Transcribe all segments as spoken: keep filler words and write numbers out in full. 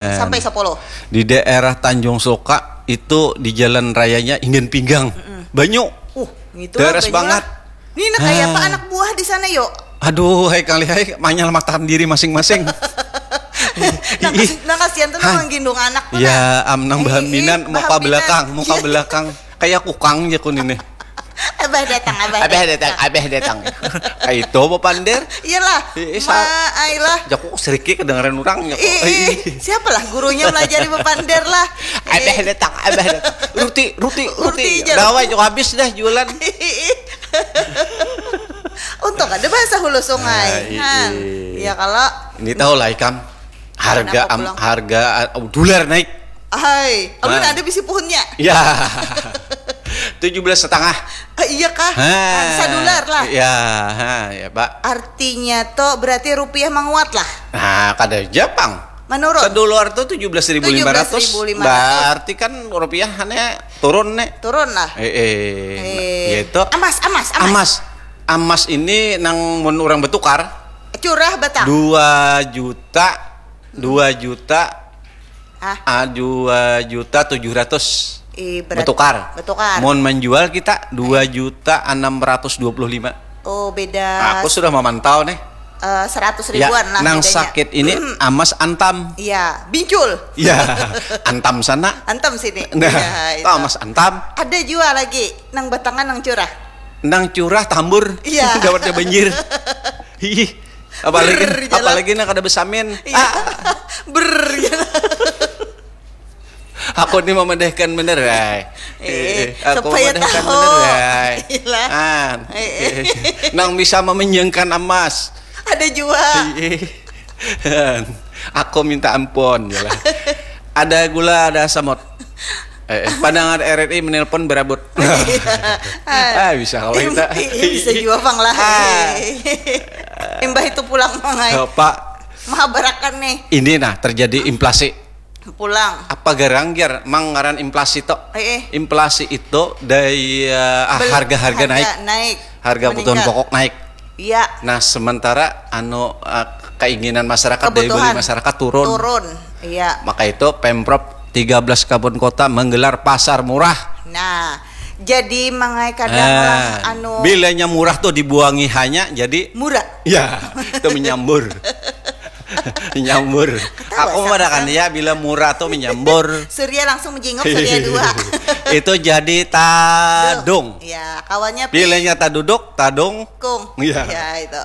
Sampai sepuluh. Di daerah Tanjung Suka itu di jalan rayanya Ingen Pinggang. Banyu. Uh, gitu Deres banyak. Banget. Ini nak kayak apa Ah. Anak buah di sana yo. Aduh, hai kali hai, manyal matahan diri masing-masing. Nah, Ih. kas- nah, kasihan tuh Hai. Nang gendong anak tuh. Ya, Nah. am nang Eh, bahaminan, eh, muka bahaminan. Belakang, muka Iya. Belakang. Kayak kukang ya kun ini. Abah datang, abah. Abah datang, abah datang. Kayak itu apa pander? Iyalah. Ih, Ma, sa- ailah. Jaku seriki kedengeran orang ya. Ih, ih, siapalah gurunya melajari bepander lah. Abah datang, abah datang. Ruti, ruti, Ruti ruti. aja. Dawai juga habis dah jualan. Untung ada bahasa hulu sungai. Ah, iya. Han. Ya kalau Ini tahu lah ikam harga Kenapa am, pulang? Harga uh, dolar naik. Hai, ulun Nah. Ada bisi puhunnya. Ya. Tujuh belas setengah. Ah, iya kah? Ha. Sadular lah. Ya, ha, ya, Pak. Artinya tuh berarti rupiah menguat lah. Nah, kada Jepang. Menurun. Sedolar tuh tujuh belas ribu lima ratus. Tujuh belas ribu lima ratus. Berarti kan rupiah hanya turun nih. Turun lah. Eh, eh, Eh, ya itu. Emas, emas, emas. Emas. Emas ini nang mun orang bertukar Curah batang. Dua juta, dua juta, Ah. ah, dua juta tujuh ratus. Ih, berat. Bertukar. Bertukar. Mau menjual kita dua juta enam ratus dua puluh lima. Oh, beda. Aku sudah memantau nih. Eh, seratus Ya, ribuan lah nang bedanya. Sakit ini emas antam. Iya, bincul. Ya, antam sana. Antam sini. Nah, Ya, itu. Tahu emas antam. Ada juga lagi nang batangan nang curah. Nang curah tambur. Iya. Dapatnya banjir. Ih, apalagi Brrr, jalan. Apalagi nak ada besamin. Iya. Ber gitu. Aku ni memadahkan bener, ay. Eh, Aku supaya memadahkan tahu. Bener, ay. Iyalah. An. Eh, eh. Nang bisa memenjengkan emas. Ada juga. Ih. Aku minta ampun, jelas. Ada gula, ada samot. Eh, eh, pendengar R R I menelpon berabut. Ah, bisa kalau kita. Iya, bisa juga pang lah. Ah. Imbah itu pulang mangai. Eh, Pak, Mahabarakan nih. Ini nah terjadi inflasi. Pulang. Apa garang jar mang ngaran inflasi to? Eh, eh. Inflasi itu daya ah, Bel- harga-harga naik. Naik. Harga kebutuhan Meningkat. Pokok naik. Iya. Nah, sementara anu eh, keinginan masyarakat daya beli Kebutuhan. Masyarakat turun. Turun. Iya. Maka itu Pemprov tiga belas Kabupaten Kota menggelar pasar murah. Nah, jadi mangai kadang Ah, lah anu bilanya murah tuh dibuangi hanya jadi murah. Ya, itu menyambur. Menyambur. Ketawa Aku sama mengatakan ya bila murah tuh menyambur. Surya langsung menjenguk Surya dua. Itu jadi tadung. Ya, kawannya Bilanya taduduk, tadung. Kung. Iya. Ya, itu.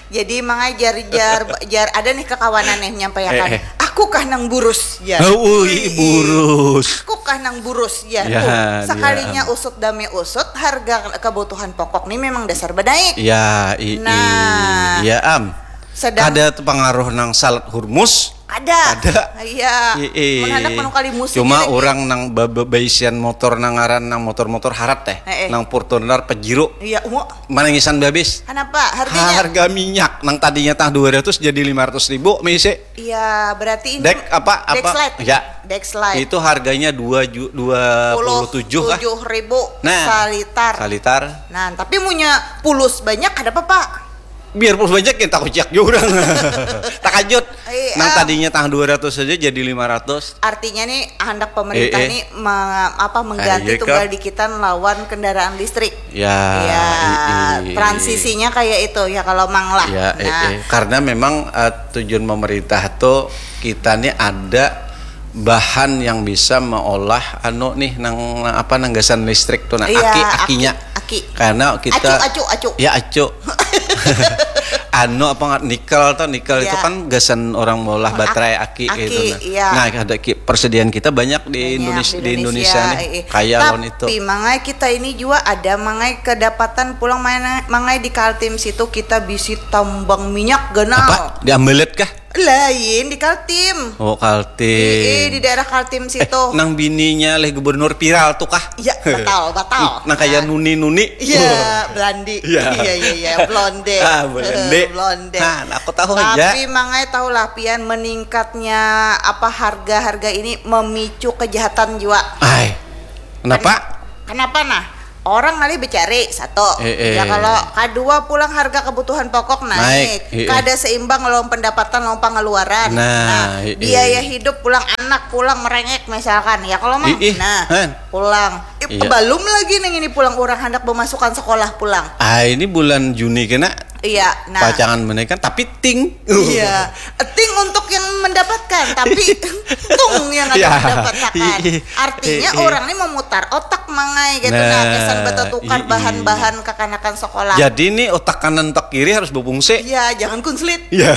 Jadi mangai jar jar jar ada nih kekawanan nih menyampaikan. Eh, eh. Aku kah nang burus ya. Oh, ui, burus. Aku kah nang burus ya. Ya, Tuh, sekalinya dia. Usut demi usut harga kebutuhan pokok nih memang dasar benaik. Ya, i, i. Nah. Ya am. Sedang Ada tuh pengaruh nang salat Hormuz. Ada. Ada. Iya. I, i. Mun handak menukali musim Cuma lagi. Orang nang ba- ba- baisian motor nang ngaran nang motor-motor harat teh. Eh, eh. Nang Fortuner Pajero. Iya, ungu. Manangisan babis. Kenapa? Harganya? Harga minyak nang tadinya tah dua ratus jadi lima ratus ribu misi. Iya, berarti ini Dek apa apa? Dexlite. Ya. Dexlite. Itu harganya dua ju, dua puluh tujuh kah? Tujuh ribu Nah, salitar. Salitar. Nah, tapi punya pulus banyak ada apa, Pak? Biar pulus banyak kita kuciak juga orang. Takajut. Iya. Nang tadinya tah dua ratus saja jadi lima ratus. Artinya nih hendak pemerintah Eh, eh. nih me- apa mengganti Ah, iya, tunggal Kak. Dikitan lawan kendaraan listrik. Ya, Ya, i, i. Transisinya kayak itu ya kalau mang lah. Ya, eh, Nah, eh. Karena memang eh, tujuan pemerintah tuh kita nih ada bahan yang bisa meolah anu nih nang apa nang gasan listrik tuh nah Iya, aki aki, akinya aki. Karena kita Acu, acu, acu. Ya acu. Anu apa nggak nikel tuh nikel itu Iya. Kan gasan orang meolah baterai aki, Aki, gitu nah. Iya. Nah, ada ki- persediaan kita banyak di Banyak Indonesia di di Indonesia nih. eh, eh. Kaya lawan itu. Tapi mangai kita ini juga ada mangai kedapatan pulang mana mangai di Kaltim situ kita bisi tambang minyak ganal. Apa? Di Ambelet kah? Lain di Kaltim. Oh, Kaltim. Iya, di daerah Kaltim Eh, situ. Nang bininya leh gubernur viral tuh kah? Iya, batal, batal. Nang kayak Nah. Nuni-Nuni. Iya, Belandi. Iya. Iya, iya, iya, blonde. Ah, blonde. Blonde. Nah, aku tahu aja. Tapi mangai tahu lah pian meningkatnya apa harga-harga ini memicu kejahatan juga. Ay, kenapa? Kenapa nah? Orang ngalih becari satu. Eh, eh. Ya kalau kadua pulang harga kebutuhan pokok naik. Naik, eh, eh. Kada seimbang lawan pendapatan lawan pengeluaran. Nah, eh, eh. Biaya hidup pulang anak pulang merengek misalkan. Ya kalau mang. Eh, eh. Nah, pulang. Iya. Belum lagi nang ini pulang urang handak memasukkan sekolah pulang. Ah, ini bulan Juni kena. Iya, nah. Pacangan menaikkan tapi ting. Iya. Ting untuk yang mendapatkan, tapi tung yang ada mendapatkan. Artinya orang ini memutar otak mangai gitu. Nah, nah, kesan batatukar bahan-bahan kekanakan sekolah. Jadi ini otak kanan otak kiri harus berfungsi. Iya, jangan kunslit. Iya.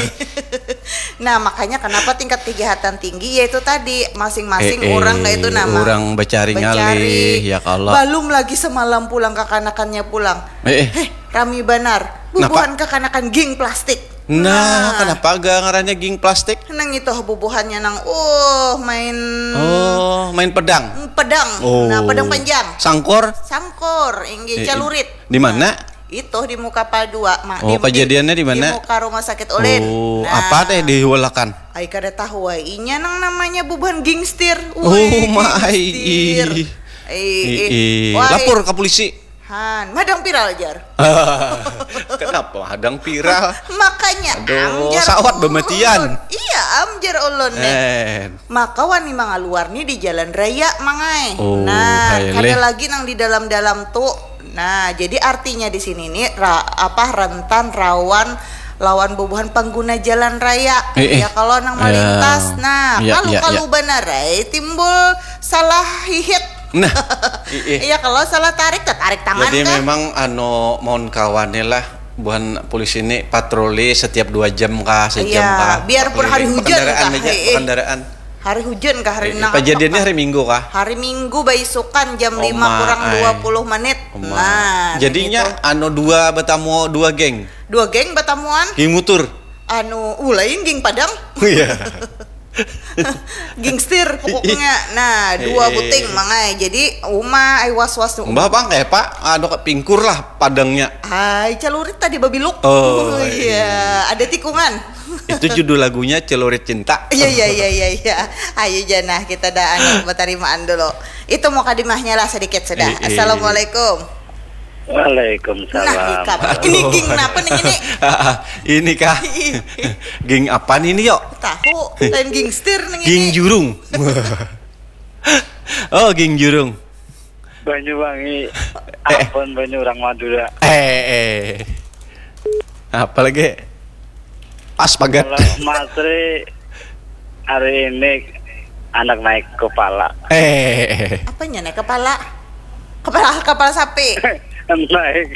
Nah, makanya kenapa tingkat kejahatan tinggi yaitu tadi masing-masing orang kayak itu nama. Orang becari ngalih, ya kalau. Belum lagi semalam pulang kekanakannya pulang. Eh, eh. Heh, rami banar. Bubuhan kekanakan geng plastik. Nah, kenapa ga ngarannya geng plastik? Nang itu bubuhannya nang uh main. Oh, main pedang. Pedang. Oh. Nah, pedang panjang. Sangkur. Sangkur, inggih, eh, calurit. Di mana? Nah, itu di muka pal dua, ma-, oh, di, kejadiannya di mana? Di muka rumah sakit ulin. Oh, nah. Apa teh diulakan? Ai kada tahu ai inya nang namanya bubuhan gingstir. Oh, wih, gingstir. Ai, ai. Lapor ke polisi. Han, madang viral jar. Kenapa hadang viral? Makanya, aduh, am jar sawat ulun. Bematian. Iya, am jar ulun nih. Eh. Maka wani mangaluar nih di jalan raya, mangai. Oh, nah, kada lagi nang di dalam-dalam tu. Nah, jadi artinya di sini nih ra-, apa, rentan rawan lawan bubuhan pengguna jalan raya. Eh, eh. Ya kalau nang melintas, nah, ya, kalu ya, kalu ya. Banar ai timbul salah hihit. Nah, iya, kalau salah tarik, tarik tangan. Jadi kah? Memang anu mohon kawannya lah, buhan polisi ini patroli setiap dua jam kah, sejam kah. Iya, biarpun hari hujan kah, kendaraan aja, eh, eh. Kendaraan. Hari hujan kah, hari nang kejadiannya hari Minggu kah? Hari Minggu baisukan jam lima kurang dua puluh menit. Nah, jadinya itu. Anu dua batamu dua geng. Dua geng batamuan. Geng mutur. Anu, uh, lain geng Padang. Iya. Gingstir pokoknya. Nah, dua buting mangai. Jadi uma ai was-was tu. Mbah bang kayak pak, anu pingkur lah padangnya. Ai calurit tadi babiluk. Oh, iya. Ada tikungan. Itu judul lagunya Celurit Cinta. Iya, iya, iya, iya, iya. Ayo janah kita dah anu berterimaan dulu. Itu mukadimahnya lah sedikit sudah. Eh, eh. Assalamualaikum. Waalaikumsalam. Nah, ikam. Ini geng napa nih ini? Ini kah? Geng apa nih ini, yuk? Tahu, lain gangster nih ini. Geng jurung. Oh, geng jurung. Banyuwangi. Eh. Ampun, banyu orang Madura. Eh, eh. Apa lagi? Pas pagat. Kalau Masri hari ini anak naik kepala. Eh. Apanya naik kepala? Kepala, kepala sapi. Naik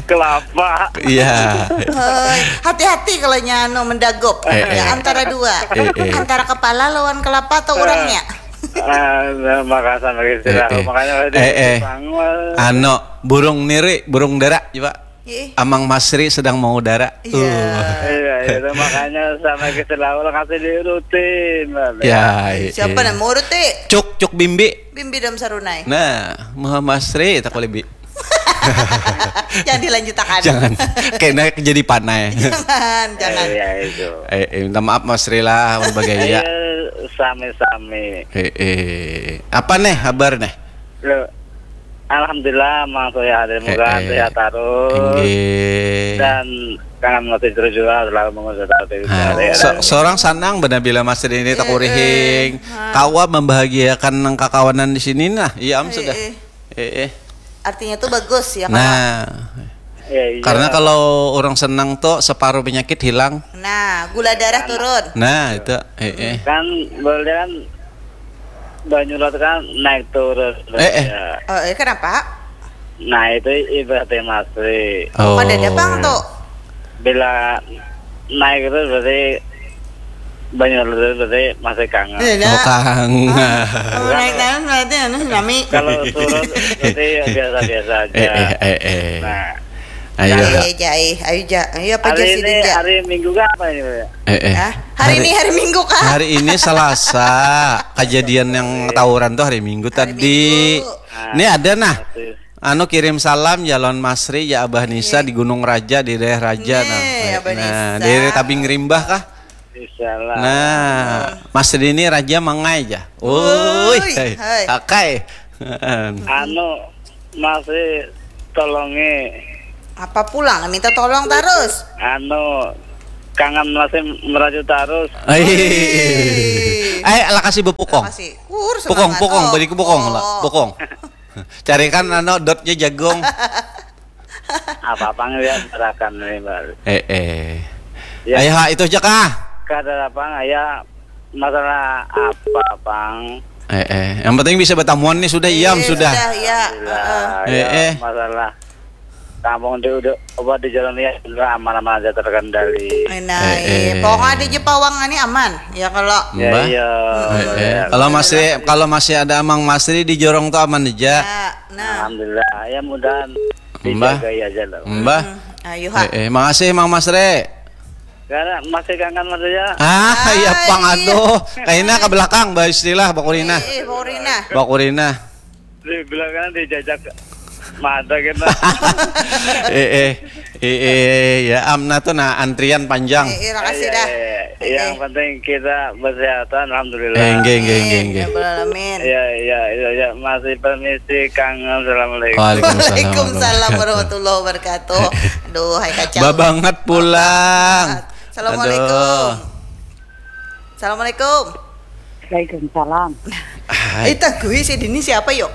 kelapa. Iya. Hei, hati-hati kalau nyano mendagup. Eh, eh. Ya, antara dua. Eh, eh. Antara kepala lawan kelapa atau orangnya? Ah, nah, makasih, makasih. Eh, eh. Makanya eh, eh. Anu, burung niri, burung dara, coba. Ih. Amang Masri sedang mau dara. Iya. Tuh. Iya, itu makanya sama kita lawan kasih diurutin. Ya, siapa eh. Nang mau urut, eh? Cuk, cuk bimbi. Bimbi dam sarunai. Nah, Muhammad Masri tak boleh bi. Jangan dilanjutakan. Jangan. Kena jadi panai. Jangan, jangan. Iya, itu. Eh, eh, minta maaf Masri lah, mun bagaya. Iya, sami-sami. Eh, eh. Apa nih kabar nih? Lo, alhamdulillah, Mang Surya hadir muga eh, eh. Sehat terus. Inggih. Dan kangen masih terus juga selalu mengusir. Ah, ya, so, seorang sanang benar bila Masri ini eh, takurihing. Eh. Kawa membahagiakan nang kakawanan di sini nah. Iya, am eh, sudah. Eh. Eh, eh. Artinya tuh bagus ya, Kak? Nah. Ya, iya. Karena kalau orang senang tuh separuh penyakit hilang. Nah, gula darah turun. Nah, itu. Eh, eh. Kan boleh kan banyu laut kan naik turun. Eh, eh. Ya. Oh, eh, kenapa? Nah, itu ibaratnya Masri. Oh. Pada ada pang tuh. Bila naik itu berarti banyu laut itu berarti masih kangen. Iya, oh, kangen. Oh, naik turun berarti anu tsunami. Kalau turun berarti biasa-biasa aja. Eh, eh, eh, eh. Nah. Ayo. Ayo, Jai. Ayo, Ja. Ayo, apa hari ini, hari Minggu kah apa ini, Pak? Eh, eh. Hah? Hari ini hari Minggu kah? Hari ini Selasa. Kejadian yang tawuran tuh hari Minggu tadi. Minggu. Ini ada nah. Anu kirim salam ya lawan Masri ya Abah Nisa di Gunung Raja di daerah Raja nah. Nih, Abah Nisa. Nah, dari Tabing Rimbah kah? Insyaallah. Nah, Masri ini Raja mangai ja. Woi, hai. Akai. Anu, masih tolongi. Apa pulang minta tolong terus? Anu, kangen masih merajuk terus. Ai. Ai, lakasi bepukong. Makasih. Kur Pukong, semangat, pukong, oh. beri ku pukong lah. Oh. Pukong. Carikan anu dotnya jagung. Apa-apa ngeliat gerakan ini baru. Eh, eh. Ya. Ayo, ha, itu aja kah? Kada apa ya, masalah apa, Pang? Eh, eh. Yang penting bisa bertamuan nih sudah, iam Eh, sudah. Sudah, ya. Alhamdulillah. Eh, Ya, eh. masalah kampung di udah obat di jalan ya, alhamdulillah, aman-aman aja, terkendali. Nah, Eh, eh. Pokoknya ada aja pawang ini aman. Ya kalau Mbah. Ya, iya. Eh, eh. Ya. Kalau masih kalau masih ada Amang Masri di jorong tuh aman aja. Ya, nah. Alhamdulillah, ya mudahan Mbah. Dijagai aja lah. Mbah. Hmm, ayo ha. Eh, eh. Makasih Mang Masri. Karena masih kangen Mas ya. Ah, iya Ai. Pang, aduh. Kaina ke belakang, bah, istilah bakurina. Eh, eh, Bakurina. Bakurina. Di belakang dijajak mata kita. Eh, eh. Eh, eh, ya amna tuh nah antrian panjang. Eh, eh, makasih dah. Iya, iya. Yang Eh. penting kita bersehatan, alhamdulillah. Eh, nggih, nggih, nggih, nggih. Ya Rabbal Alamin. Ya, ya, ya, ya. Masih permisi, kangen. Assalamualaikum. Waalaikumsalam. Waalaikumsalam warahmatullahi wabarakatuh. Aduh, hai kacau. Babanget pulang. Assalamualaikum. Aduh. Assalamualaikum. Waalaikumsalam. Hai. Eh, tagui si Dini siapa yuk?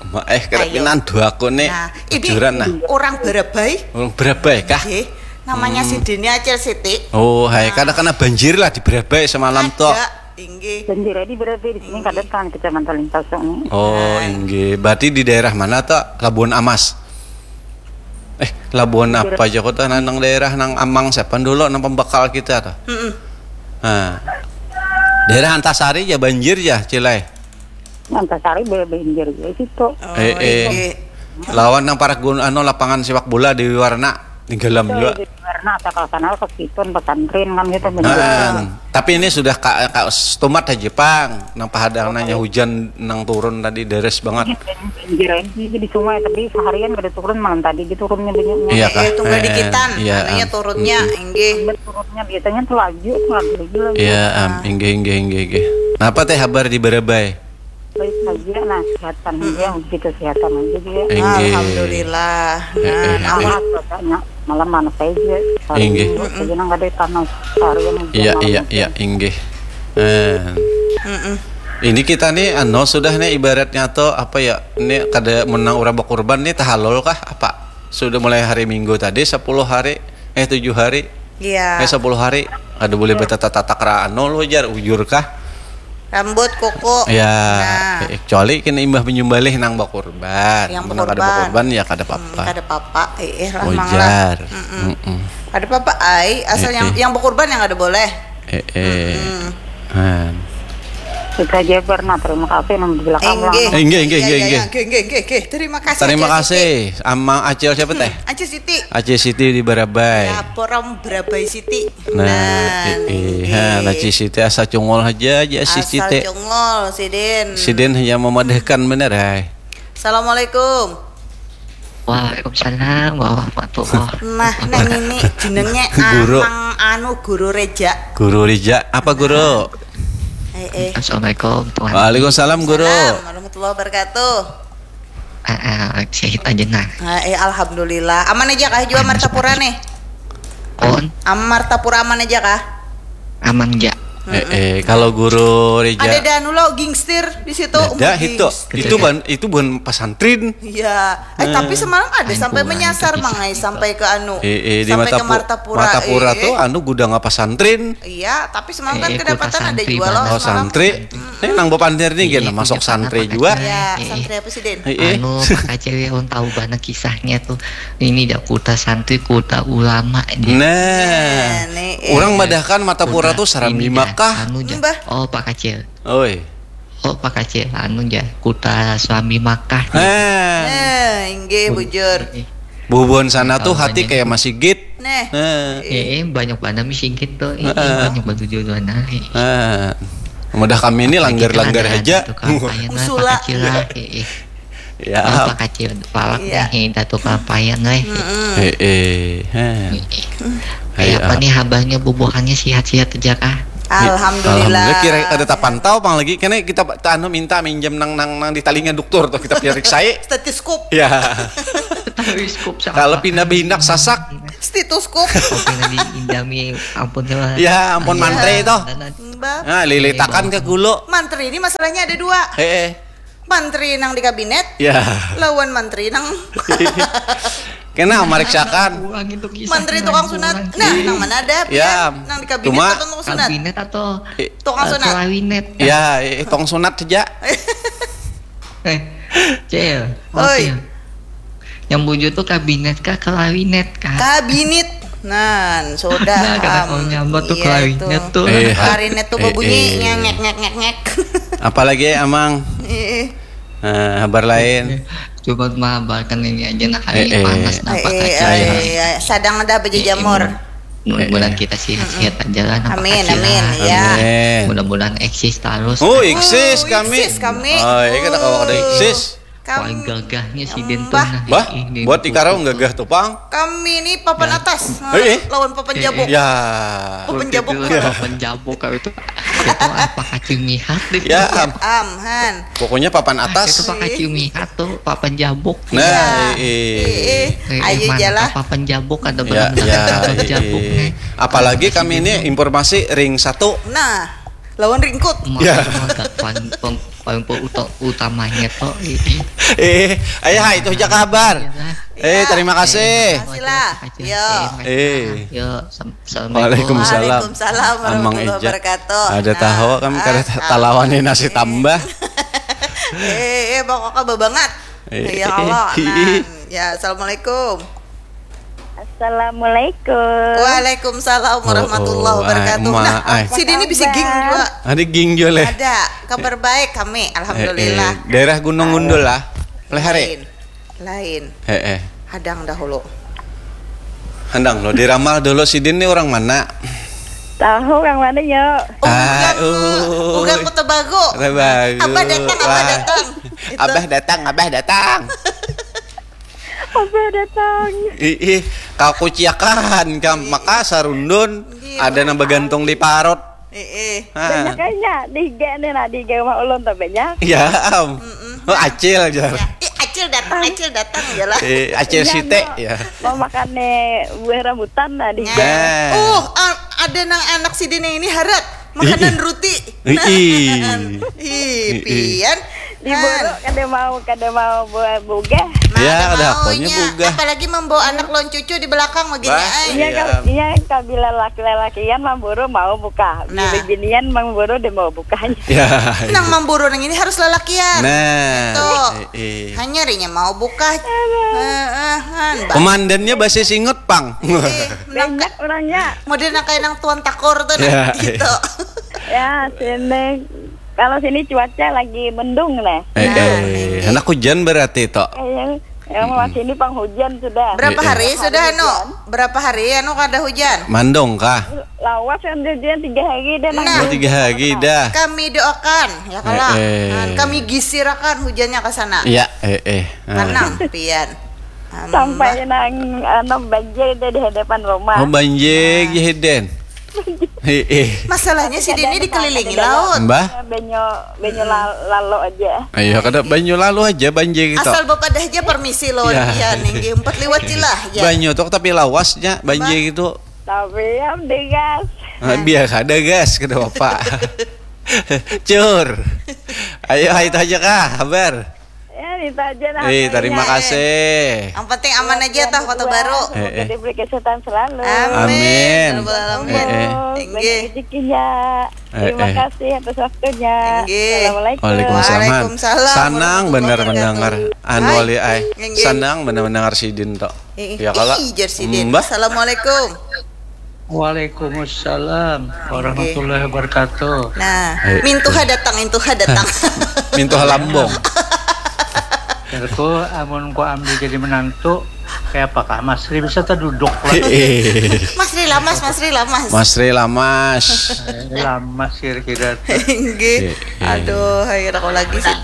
Ma- eh, kada Ayo. pinandu aku nih. Nah, ini Bujuran nah. Orang Barabai. Orang Barabai kah? Oke. Namanya si Dini Acil Siti. Oh, hai, kada kena banjir lah di Barabai semalam tuh. Ada, inggih. Banjir di Barabai di sini kada kan Kecamatan Limpaso nih. Oh, inggih. Berarti di daerah mana tuh? Labuan Amas. Eh, Labuan apa aja kota nang daerah nang Amang siapa dulu nang pembakal kita tuh. Mm-mm. Nah. Daerah Antasari ya banjir ya, Cilai. Antasari banjir ya situ. Oh, Eh, eh. Inggih. Lawan nang parak gun anu lapangan sepak bola di Warna di Galam juga. Karena asal sana ke situ pesantren kan gitu banjir. Nah, tapi ini sudah ka, ka, setumat aja pang. Nang pahadang nanya hujan nang turun tadi deres banget. Banjir aja sih di sungai tapi seharian kada turun malam tadi gitu turunnya banyak. Iya kah? Eh, tunggal Eh, dikitan. iya, Anunya am. Turunnya, inggih. Turunnya biasanya tuh laju tuh laju lagi lagi. Iya, am. Inggih, inggih, inggih, inggih. Napa teh habar di Barabai? Baik aja nah kesehatan aja begitu kesehatan aja dia. Inggih. Alhamdulillah. Eh, eh, Nah, eh. Panas cuacanya malam panas aja. Hari Inggih. Minggu aja nang kada panas seharian aja Iya, malam iya, aja. Iya, inggih. Eh, Mm-mm. ini kita nih anu sudah nih ibaratnya tuh apa ya? Ini kada menang orang berkorban nih tahalol kah apa? Sudah mulai hari Minggu tadi sepuluh hari, eh tujuh hari, Iya. eh sepuluh hari. Ada boleh bertatap-tatap ra anu lo jar ujur kah? Rambut, kuku. Ya, Nah. eh, kecuali kena imbah menyembelih nang berkorban. Yang Nang kada berkorban. Berkorban ya kada Hmm, apa-apa. kada apa-apa. Eh, eh, lah, Mang, lah. Ujar. Mm-mm. Mm-mm. Kada apa-apa, ai. Asal Eh, yang eh. Yang berkorban yang kada boleh. Eh, eh. Mm-mm. Han. Itu aja pernah terima kasih nang di belakang Inggih. lah. Eh, inggih, inggih, Iya, inggih, iya, inggih. iya. Inggih, inggih, inggih, inggih. Terima kasih. Terima Acil kasih. Siti. Amang Acil siapa teh? Acil Siti. Acil Siti di Barabai. Ya, porom Barabai Siti. Nah, eh, eh, ha, nah, Ci Siti asa cungol aja aja si Asal Siti. Cungol sidin. Sidin hanya memadahkan bener, hai. Assalamualaikum. Waalaikumsalam warahmatullahi. Nah, nang ini jenenge Guru. Amang anu Guru Reja. Guru Rija, apa guru? Eh, eh. Assalamualaikum tuan. Waalaikumsalam guru. Salam warahmatullahi wabarakatuh. Ah, ah, sehat aja nah. Nah, eh, alhamdulillah. Aman aja kah jua Martapura nih? Pun Am Martapura aman aja kah? Aman ja. Eh, eh, kalau guru Rija. Ada danu lo gingstir di situ. Ada Gingstir. itu. Itu bukan itu bukan pesantren. Iya. Eh, tapi semalam ada sampai menyasar mangai sampai ke anu. Eh, eh, di sampai ke Matapu- Martapura. Matapura Eh, tuh eh. Anu gudang apa santrin? Iya, tapi semalam kan Eh, eh, kedapatan kota ada santri jual banget. Oh, semalam. santri. Ini nang bapandir nih gini masuk santri juga. Ya, Eh, eh. santri apa sih, Den? Eh, eh. Anu, Pak Kacil ya, tahu banget kisahnya tuh. Ini dah kota santri, kota ulama dia. Nah, Nah, nih, eh. Orang madahkan Matapura Kota tuh Serambi ini dah, Makkah. Anu dah. Mbah. Oh, Pak Kacil. Oi. Oh, Pak Kacil, anu dah, kota Serambi Makkah. Nah, Nah, inggih bujur. Eh, bubuhan sana Kalau tuh hati banyak kayak masjid. Nah. Nah, eh, eh, banyak banget sih gitu. Eh, eh, Heeh. banyak banget tujuan. Eh. nah. Mudah kami ini langgar-langgar Ada aja. tukang payang lah, Usula. Pak Kacil lah. Eh, eh. Ya. Oh, Pak Kacil, palak Iya. nih, eh, dah tukang payang lah. Eh. Mm-mm. Eh, eh. Heh. Eh, eh. Ayo, Kayak apa ah. Nih habarnya bubuhannya sehat-sehat aja kah? Alhamdulillah. Alhamdulillah, kira kada tapantau pang lagi. Kena kita ta-, anu, minta minjam nang, nang, nang di talinga dokter tuh, kita periksai. Stetoskop. Ya. Stetoskop siapa? Kalau pindah behindak sasak. Stetoskop. Kopi nang di Indomie, ampun lah. Ya, ampun, mantri itu. Mbak. Nah, lilitakan ke gulu. Mantri ini masalahnya ada dua. Heeh. Mantri nang di kabinet, ya, lawan mantri nang kena mariksakan. Mantri tukang sunat. Nah, nang mana ada, ya, pian? Nang di kabinet atau tukang sunat? Kabinet atau, eh, tukang sunat? Kelawinet, kan? Ya, eh, tukang sunat saja. Eh, Cil, oi. Cil. Yang bujur tuh kabinet kah, kelawinet kah? Kabinet. Nan, sudah. Nah, kada tahu nyambat tuh, iya, kelawinet itu tuh. Iya. Klarinet tuh, eh, berbunyi, eh, ngek, ngek, ngek, ngek. Apalagi, Amang? Iya. Nah, habar lain. Cuma mahabarkan ini aja, nah, hari ini panas, nampak aja. Iya, iya. Sadang ada bejejamur. Mudah-mudahan kita sehat-sehat aja lah, nampak aja. Amin, amin, ya. Amin. Mudah-mudahan eksis terus. Oh, eksis kami. Eksis kami. Oh, iya, kita kawa kada eksis. Paling gagahnya sidin tuh, nah. Bah, buat ikarau gagah tuh, pang. Kami ini papan atas, eh, eh, lawan papan jabuk. Ya. Papan jabuk. Papan jabuk kami tuh. Itu apa, kacang mihat deh. Ya, am. Am, han. Pokoknya papan atas. Ah, itu pakai ciumi satu, papan jabuk. Nah, iya. Iya. Iya, iya. Eh, ayo, eh, mana jalan. Papan jabuk ada, ya, benar-benar ya, papan jabuk, iya, nih. Apalagi kami ini informasi ring satu. Nah, lawan ringkut. Ya. Paling, paling, paling uta-, utamanya tuh, iya. Eh, ayo, hai, itu aja kabar. Iya, nah. Eh, terima kasih. Terima kasih lah. Yo. Eh. Yo, sam-, Assalamualaikum. Waalaikumsalam. Waalaikumsalam warahmatullahi wabarakatuh. Ada tahu kan, kada ta-, talawani nasi tambah. Eh, eh, pokoknya babangat. Eh, ya Allah, eh, eh. Nah, ya, assalamualaikum. Assalamualaikum. Waalaikumsalam warahmatullahi wabarakatuh. Oh, oh, ai, ma-, nah, ai. Sidin ini bisa ging juga. Ada ging juga, leh. Ada, kabar baik kami, alhamdulillah. Eh, eh, daerah Gunung Gundul lah. Leh hari. Lain. Lain. Heeh. Hadang dahulu. Handang lo, diramal dulu, sidin ni orang mana? Tahu orang mana, yo? Ah, ugang, ugang Kota Baru. Kota Baru. Abah datang, Abah datang. Itu. Abah datang, Abah datang. Abah datang. Ih, ih, kakuciakan, kam. Maka sarundun, ada nang bagantung di parut. Eh, eh. Ha. Banyak kayaknya di I G nih, nah, di I G rumah ulun tuh banyak. Ya, am. Mm-mm. Oh, acil aja. Ya. Ih, acil datang, acil datang, ya lah. Eh, acil site, ya. Mau makan nih buah rambutan, nah, di I G. Nah. Oh, a-, ada nang anak sidin yang ini harat makanan ruti. Ih, ih. Ih, pian. Di buru kada mau, kada mau buat bugah. Nah, ya, ada mau haknya bugah. Apalagi membawa anak lawan cucu di belakang begini, ai. Iya, iya. Iya, kabila laki-lakian mamburu mau bukah. Nah. Bila binian mamburu dia mau bukahnya. Ya, iya. Nang mamburu nang ini harus lalakian. Nah. Gitu. Eh, eh. Hanya rinya mau bukah. Aduh. Heeh, han, bah. Komandannya bahasa Singut, pang. Eh, banyak orangnya. Model nang kayak nang tuan takor tuh, nah, ya, gitu. Ya, sini. Kalau sini cuaca lagi mendung, nah. Eh, nah, eh, ini. Handak hujan berarti, Tok. Eh, yang, yang mau sini pang hujan sudah. Berapa hari sudah, anu? Hujan. Berapa hari, anu, kada hujan? Mandung kah? Lawas kan hujan tiga hari dah, nah. Oh, tiga hari dah. Kami doakan, ya, kalau, eh, eh, kan kami gisirakan hujannya ke sana. Iya, eh, eh. Ah. Tenang, pian. Sampai nang, anu, banjir deh di hadapan rumah. Oh, banjir, nah. Jahiden. Heeh. Masalahnya sidin ini dikelilingi laut. Mbah? Banyu, banyu la-, lalo aja. Ayo, kada banyu lalu aja, banjir gitu. Asal bapadah aja permisi lawan, ya, pian, inggih. Empat liwat cilah, ya. Banyu tuh tapi lawasnya, banjir gitu. Tapi am degas. Ah, biar ada gas, kada apa. Cur. Ayo, itu aja kah, kabar? Ya, itu aja lah. Eh, terima kasih. Yang penting aman aja toh, Kota Baru. Semoga diberi kesehatan selalu. Amin. Amin. Ya Rabbal alamin. Eh, eh. Banyak rezekinya. Eh, eh. Terima kasih atas waktunya. Inggih. Assalamualaikum. Waalaikumsalam. Waalaikumsalam. Sanang banar mendengar. Anu, wali ai. Inggih. Sanang banar mendengar sidin tok. Eh, eh. Ya, kala. Ih, jar sidin. Mbah. Assalamualaikum. Waalaikumsalam warahmatullahi wabarakatuh. Nah, eh, mintuha datang, mintuha datang. Mintuha lambung. Jarku, amun ku ambil jadi menantu, kayak apakah Mas Ri bisa terduduk lah? Eh. Mas Ri lamas, Mas Ri lamas. Mas Ri lamas. Eh, lamas kira-kira tuh. Inggih. Eh, eh. Aduh, akhirnya kau lagi sih.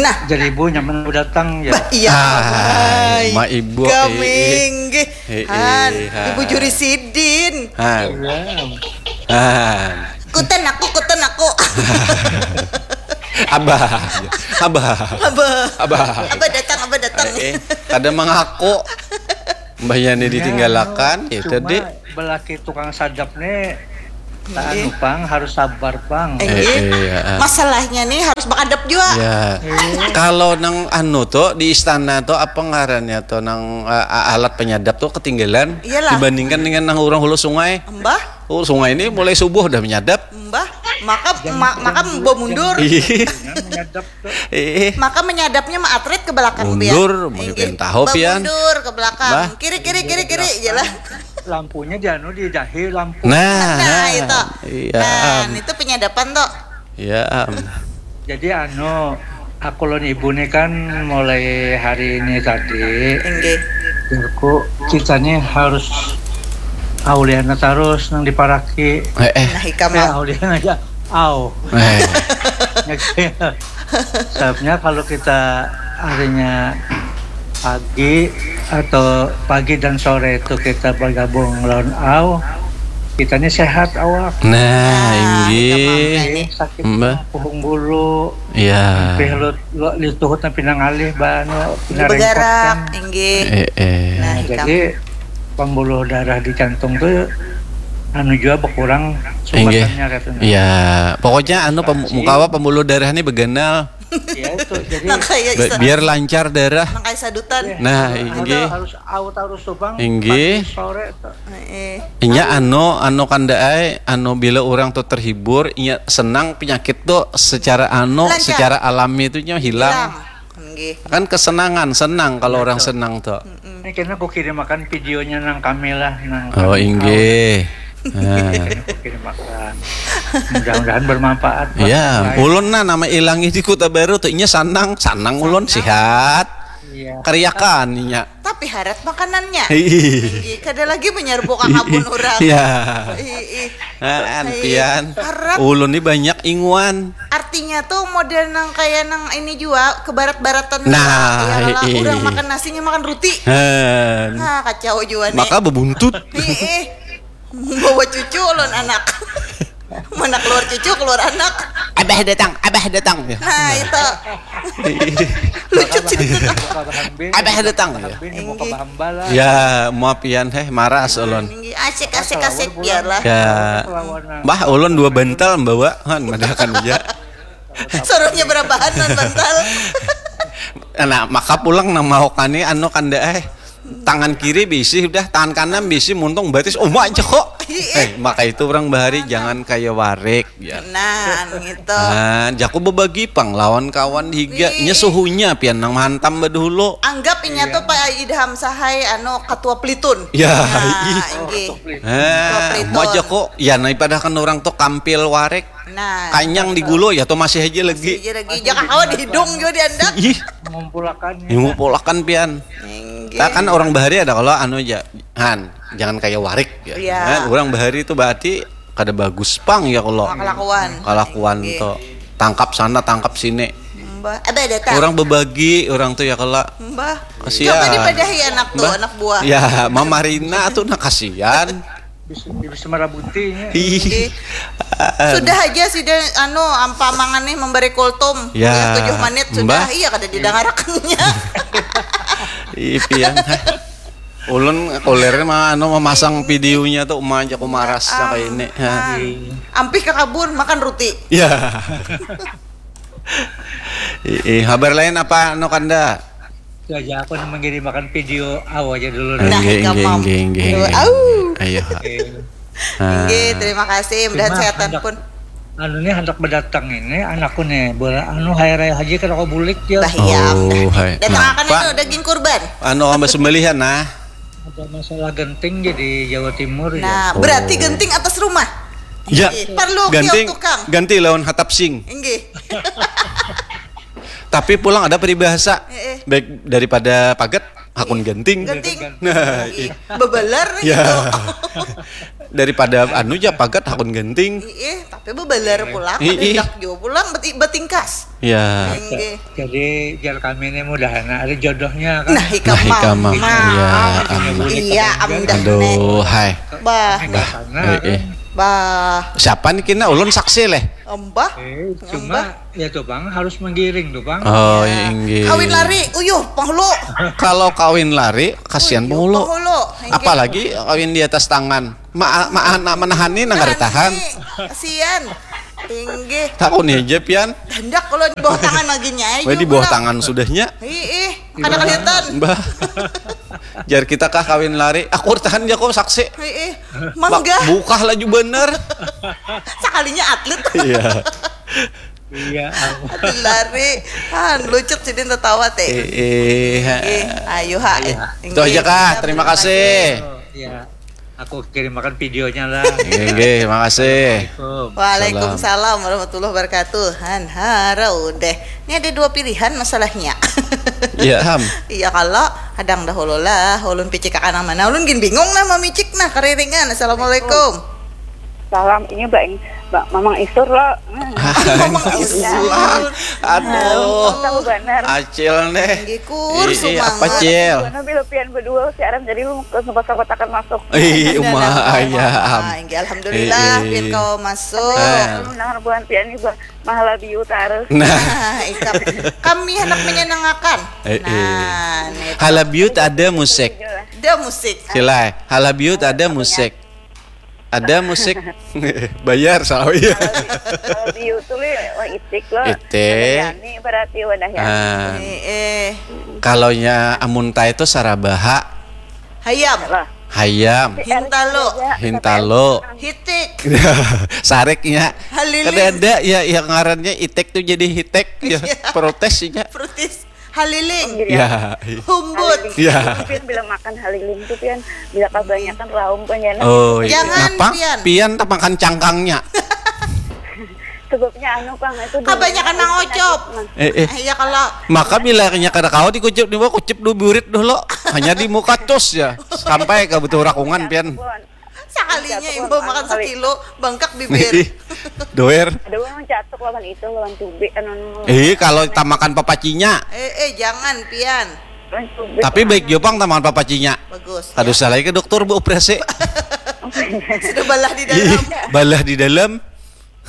Nah. Jadi ibu nyaman datang ya? Bah, iya. Ah, hai, ma ibu, kami, eh, eh. Inggih. Hei, han, hei, han. Ibu juri sidin. Han. Iya. Han. Kutan aku, kutan aku. Abah. Abah. Abah. Abah. Abah datang, abah datang. Eh, eh. Kada mangaku. Mbahnya ni ditinggalakan, ya, cuma tadi. Belaki tukang sadap ni, tak anu pang, harus sabar pang. Eh, eh, iya, ah. Masalahnya nih harus bakadap juga. Ya. Iya. Kalau nang anu tuh di istana tuh apa ngarannya tuh nang, eh, alat penyadap tuh ketinggalan. Iyalah. Dibandingkan dengan nang urang hulu sungai. Mbah? Oh, sungai ini mulai subuh udah menyadap. Mbah, maka ma- maka bamundur. Iya. Menyadap tuh. Eh. Maka menyadapnya ma atret ke belakang, pian. Mundur, mun pian tahu, pian. Bamundur ke belakang. Mbah. Kiri, kiri, kiri, kiri, jelas. Lampunya di anu, di dahi lampu. Nah, nah, itu. Iya. Nah, itu penyadapan tuh. Iya, am. Jadi anu, aku lawan ibu nih kan mulai hari ini tadi. Inggih. Jarku, kita nih harus auliana terus nang diparaki. Eh, eh. Nah, ikam. Eh, auliana aja. Au. Eh. Sababnya kalau kita harinya pagi atau pagi dan sore itu kita bergabung lawan au, kita ini sehat awak. Nah, nah, inggih. Sakit puhung bulu. Iya. Sampai lu, lu, lu tuhut sampai nang alih, ba, anu, pina rengkot kan. Begarak, inggih. Eh, eh. Nah, jadi pembuluh darah di jantung tuh anu jua berkurang subatannya katanya. Iya, pokoknya anu pem- mukawa pembuluh darah ini beganal. Iya, itu. Jadi biar lancar darah. Nang kayak sadutan. Nah, inggih. Harus, harus au terus tuh, Bang. Inggih. Pagi, sore tuh. Heeh. Inya anu, anu kanda ai, anu bila orang tuh terhibur, inya senang penyakit tuh secara anu, secara alami itu nya hilang. Hilang. Inggih. Kan kesenangan, senang kalau orang senang tuh. Ini kena aku kirim akan videonya nang kami lah, nang. Oh, kami inggih. Nah. Aku kirim akan. Mudah-mudahan bermanfaat buat yang lain. Iya, ulun nah nama ilang di Kota Baru tuh inya sanang, sanang ulun sehat. Iya. Kariakan inya. Tapi harat makanannya. Hiih. Inggih, kada lagi menyerbu ka kabun orang. Iya. Hiih. Nah, pian. Harat. Ulun ni banyak inguan. Artinya tuh model nang kayak nang ini jua, kebarat-baratan. Nah, ya, kalau orang makan nasinya makan roti. Nah, kacau jua nih. Maka bebuntut. Hiih. Bawa cucu ulun anak. Mana keluar cucu, keluar anak. Abah datang, abah datang. Nah, itu. Lucu cerita. Abah datang, ya. Inggih. Ya, maaf pian, heh, maras ulun. Inggih, asik, asik, asik, biarlah. Ya. Mbah, ulun dua bantal membawa, han, madahakan aja. Suruhnya berabahan non bantal. Nah, maka pulang nang mau kani anu kanda, eh. Tangan kiri bisi udah, tangan kanan bisi muntung batis uma aja kok. Eh, maka itu orang bahari jangan kaya warik ya. Nah, gitu. Nah, jaku bebagi pang lawan kawan higa. Nya suhunya pian nang mahantam badahulu. Anggap inya tuh Pak Idham Sahai anu ketua Pelitun. Ya, nah, inggih. Nah, uma aja kok. Ya, nah, padahal kan orang tuh kampil warik. Nah, kanyang di gulu ya tuh masih aja lagi. Masih aja lagi. Jangan kawa di hidung juga diandak. Ih. Mengumpulakan. Mengumpulakan pian. Inggih. Nah, kan orang bahari ada kalau anu aja, han, jangan kayak warik ya. Iya. Nah, orang bahari itu berarti kada bagus pang ya kalau kalakuan. Kalakuan tuh tangkap sana tangkap sini. Mbah, ada datang. Orang bebagi orang tuh ya kalau. Mbah. Kasihan. Coba dipadahi anak tuh, anak buah. Ya, mamarina tuh nah kasihan. Bisa, bisa merabuti nya. Ih. Sudah aja sih deh, anu, ampa mangan nih memberi kultum. Ya, tujuh menit sudah. Iya, kada didangarakannya. Ih, pian. Ulun kuliahnya mah anu memasang videonya tuh uma aja ku maras kayak ini. Ampih ke kabun makan roti. Ya. Ih, habar lain apa anu kanda? Itu aja aku nang manggirim akan video au aja dulu. Nah, inggih, inggih, inggih. Au. Ayo. Inggih, terima kasih. Mudahan sehatan pun. Anu nih hendak berdatang ini anakku nih, bola anu hari raya haji kada kau bulik ya. Bah, iya. Oh, hai. Datang akan itu daging kurban. Anu, amba sembelihan nah. Ada masalah genting jadi Jawa Timur ya. Nah, berarti genting atas rumah. Ya. Perlu kios tukang. Ganti lawan hatap sing. Inggih. Tapi pulang ada peribahasa. Baik daripada pagat hakun genting. Genting. Nah, iya. Bebeler gitu. Daripada anu ja pagat hakun genting. Iya, tapi bebeler pulang, ada dak jua pulang beti- betingkas. Ya. Inggih. Jadi jar kami ini mudahan ada jodohnya kan. Nah, ikam nah, ikam mah. Nah, iya, amin. Iya, amin dah. Aduh, hai. Bah. Bah. Sana, eh, kan? Bah. Siapa nih kena ulun saksi leh. Embah. Eh, cuma ya tuh bang harus menggiring tuh bang. Oh, ya. Inggih. Kawin lari, uyuh penghulu. Kalau kawin lari, kasihan penghulu. Penghulu. Inggih. Apalagi kawin di atas tangan. Ma, ma anak menahani nang kada tahan. Kasihan. Inggih. Takuni aja pian. Hendak kalau di bawah tangan lagi nya. Weh, di bawah tangan sudahnya. Ih, ih, kada kelihatan. Bah. Jar kita kah kawin lari. Aku tahan ya kok saksi. Ih, ih. Mangga. Bukah laju bener. Sekalinya atlet. Iya. Iya. Atlet lari. Han, lucut sidin tertawa teh. Eh, eh, ayo ha. Itu aja kah. Terima kasih. Oh, iya. Aku kirim akan videonya lah. Oke, makasih. Waalaikumsalam warahmatullahi wabarakatuh. Han harau deh. Ini ada dua pilihan masalahnya. Iya ham. Iya kalau hadang dahulu lah. Ulun picik akan yang mana? Ulun gin bingung nah mamicik nah keriringan. Assalamualaikum. Salam, ini Mbak Ing-, Mbak Mamang Isur lo. Mamang Isur. Aduh. Tahu benar. Acil nih. Kur, ih, ih, apa, Cil? Mana bila pian berdua siaran jadi lu ke sempat sempat akan masuk. Ih, uma ayam. Inggih, alhamdulillah, pian kau masuk. Mendengar buhan pian nih, Bang. Mahala biu tarus. Nah, ikam. Kami hendak menyenangkan. Nah, nih. Halabiut ada musik. Ada musik. Silai. Halabiut ada musik. Ada musik. Bayar sawi. Kalau di YouTube wah itik lo. Itik. Ada Yani berarti wadahnya. Ah. Eh, eh. Kalau nya amunta itu sarabaha. Hayam. Lah. Hayam. Hintalo. Hintalo. Hitik. Sariknya. Haliling. Kada ada ya yang ngarannya itik tuh jadi hitek ya. Iya. Protes ya. Protes. Haliling. Oh, iya. Ya. Humbut. Haliling. Ya. Pian bila makan haliling tuh pian bila kebanyakan laum kan ya. Oh, iya. Jangan, napa? Pian. Pian tak makan cangkangnya. Sebabnya anu pang itu kebanyakan mangocop. Eh, eh. Iya kalau maka bila nya kada kawa dikucup di bawah kucup dua burit dulu. Hanya di muka cus ya. Sampai ke betul rakungan pian. Sekalinya imbau makan sekilo, bangkak bibir. Ih, doer. Ada orang catuk lawan itu, lawan tube, anu, anu. Ih, kalau tamakan papacinya. Eh, eh, jangan, pian. Lawan tube. Tapi baik jua pang tamakan papacinya. Bagus. Kada usah lagi ke dokter beoperasi. Sudah balah di dalam. Ih, balah di dalam.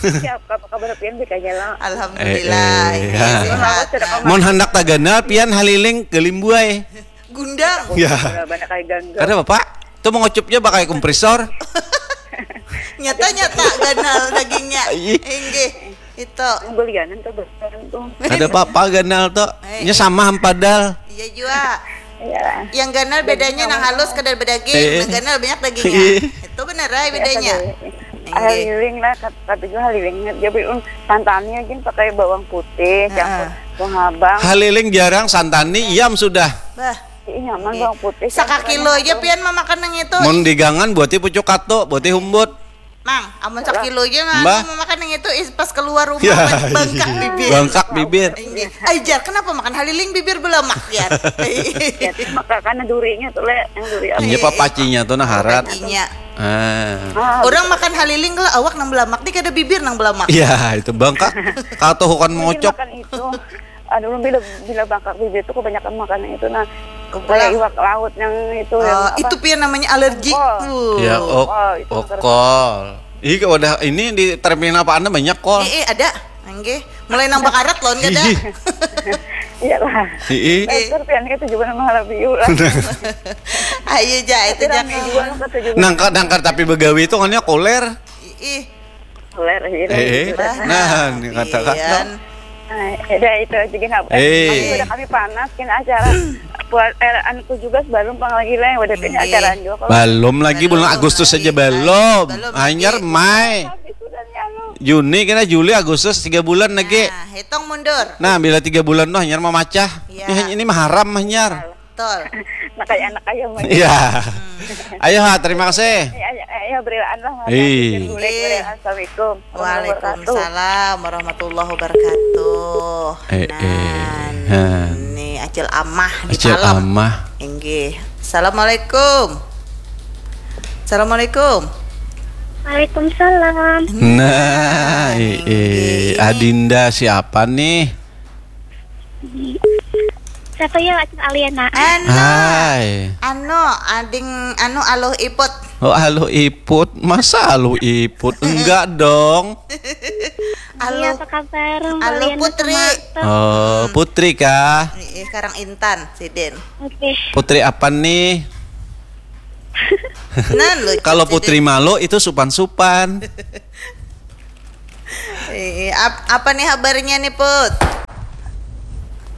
Siap, apa kabar pian, baik aja lah. Alhamdulillah, eh, eh, ini ya. Sehat. Mun handak taganal, pian haliling galimbuai. Gundang. Ya. Banyak kali ganggu. Kada apa-apa. Itu mengocupnya pakai kompresor. Nyata-nyata ganal dagingnya. Iya. Inggih. Itu. Belianan tuh berkembang tuh. Kada apa-apa ganal tuh. Eh, nya sama hampadal. Iya jua. Iya. Yang ganal bedanya nang halus kada bedaging, eh, nang ganal banyak dagingnya. Iya. Itu benar ai bedanya. Haliling lah, tapi juga haliling. Jadi um, santannya gin pakai bawang putih, campur bawang habang. Haliling jarang, santani iam sudah. Bah. Ih, nyaman bawang putih. Sakakilo aja pian mamakan nang itu. Mun digangan buati pucuk kato, buati humbut. Mang, amun sakilo aja nganu mamakan nang itu, is pas keluar rumah, ya, bangkak bibir. Bangkak bibir. Inggih. Ai, jar, kenapa makan haliling bibir belamak, jar? Ya, maka karena durinya tuh, le, yang duri apa? Iya, papacinya tuh nah harat. Papacinya. Ah. Ah, orang makan haliling lah awak nang belamak, di kada bibir nang belamak. Iya, itu bangkak. Katuhukan mungkin mengocok. Makan itu. Aduh, bila bila bangkak bibir tuh kebanyakan makan itu nah. Kayak iwak laut yang itu yang apa? Itu pian namanya alergi. Kol. Ya, ok, oh, itu okol. Ih, wadah ini di terminal apa anda banyak kol? Eh, eh, ada. Nggih. Mulai nang bakarat loh, enggak ada. Iyalah. Ih. Terus pian itu juga nama halabiu lah. Ayo ja, itu ja. Nangka nangka tapi begawi itu kan ya koler. Ih. Koler gitu. Eh, nah, ini kata-kata. Nah, ya udah itu aja gini. Eh. Udah kami panas gini acara buat eh, anakku juga sebelum pang lagi lah udah punya acara juga kalau belum lagi bulan Agustus saja belum. Hanyar Mai. Juni kena Juli Agustus tiga bulan lagi. Nah, hitung mundur. Nah, bila tiga bulan noh hanyar mamacah. Ini mah haram mah hanyar. Betul. Nah, kayak anak ayam aja. Iya. Ayo ha, terima kasih. Ayo, ayo, ayo berilaan lah. Assalamualaikum. Waalaikumsalam warahmatullahi wabarakatuh. Eh, nah, eh, ini Acil Amah di Acil Palem. Amah. Inggih. Assalamualaikum. Assalamualaikum. Waalaikumsalam. Nah, eh, eh, Adinda siapa nih? Siapa ya, Acil Aliana? Anu, hai. Anu, ading, anu, aluh iput. Oh, Aluh Iput. Masa Aluh Iput? Enggak dong. Iya, apa kabar? Mbak Aluh Liana Putri. Sumarto? Oh, Putri kah? Ih, karang intan sidin. Oke. Putri apa nih? Nan lucu Kalau sidin. Putri Malo itu supan-supan. Eh, ap- apa nih kabarnya nih, Put?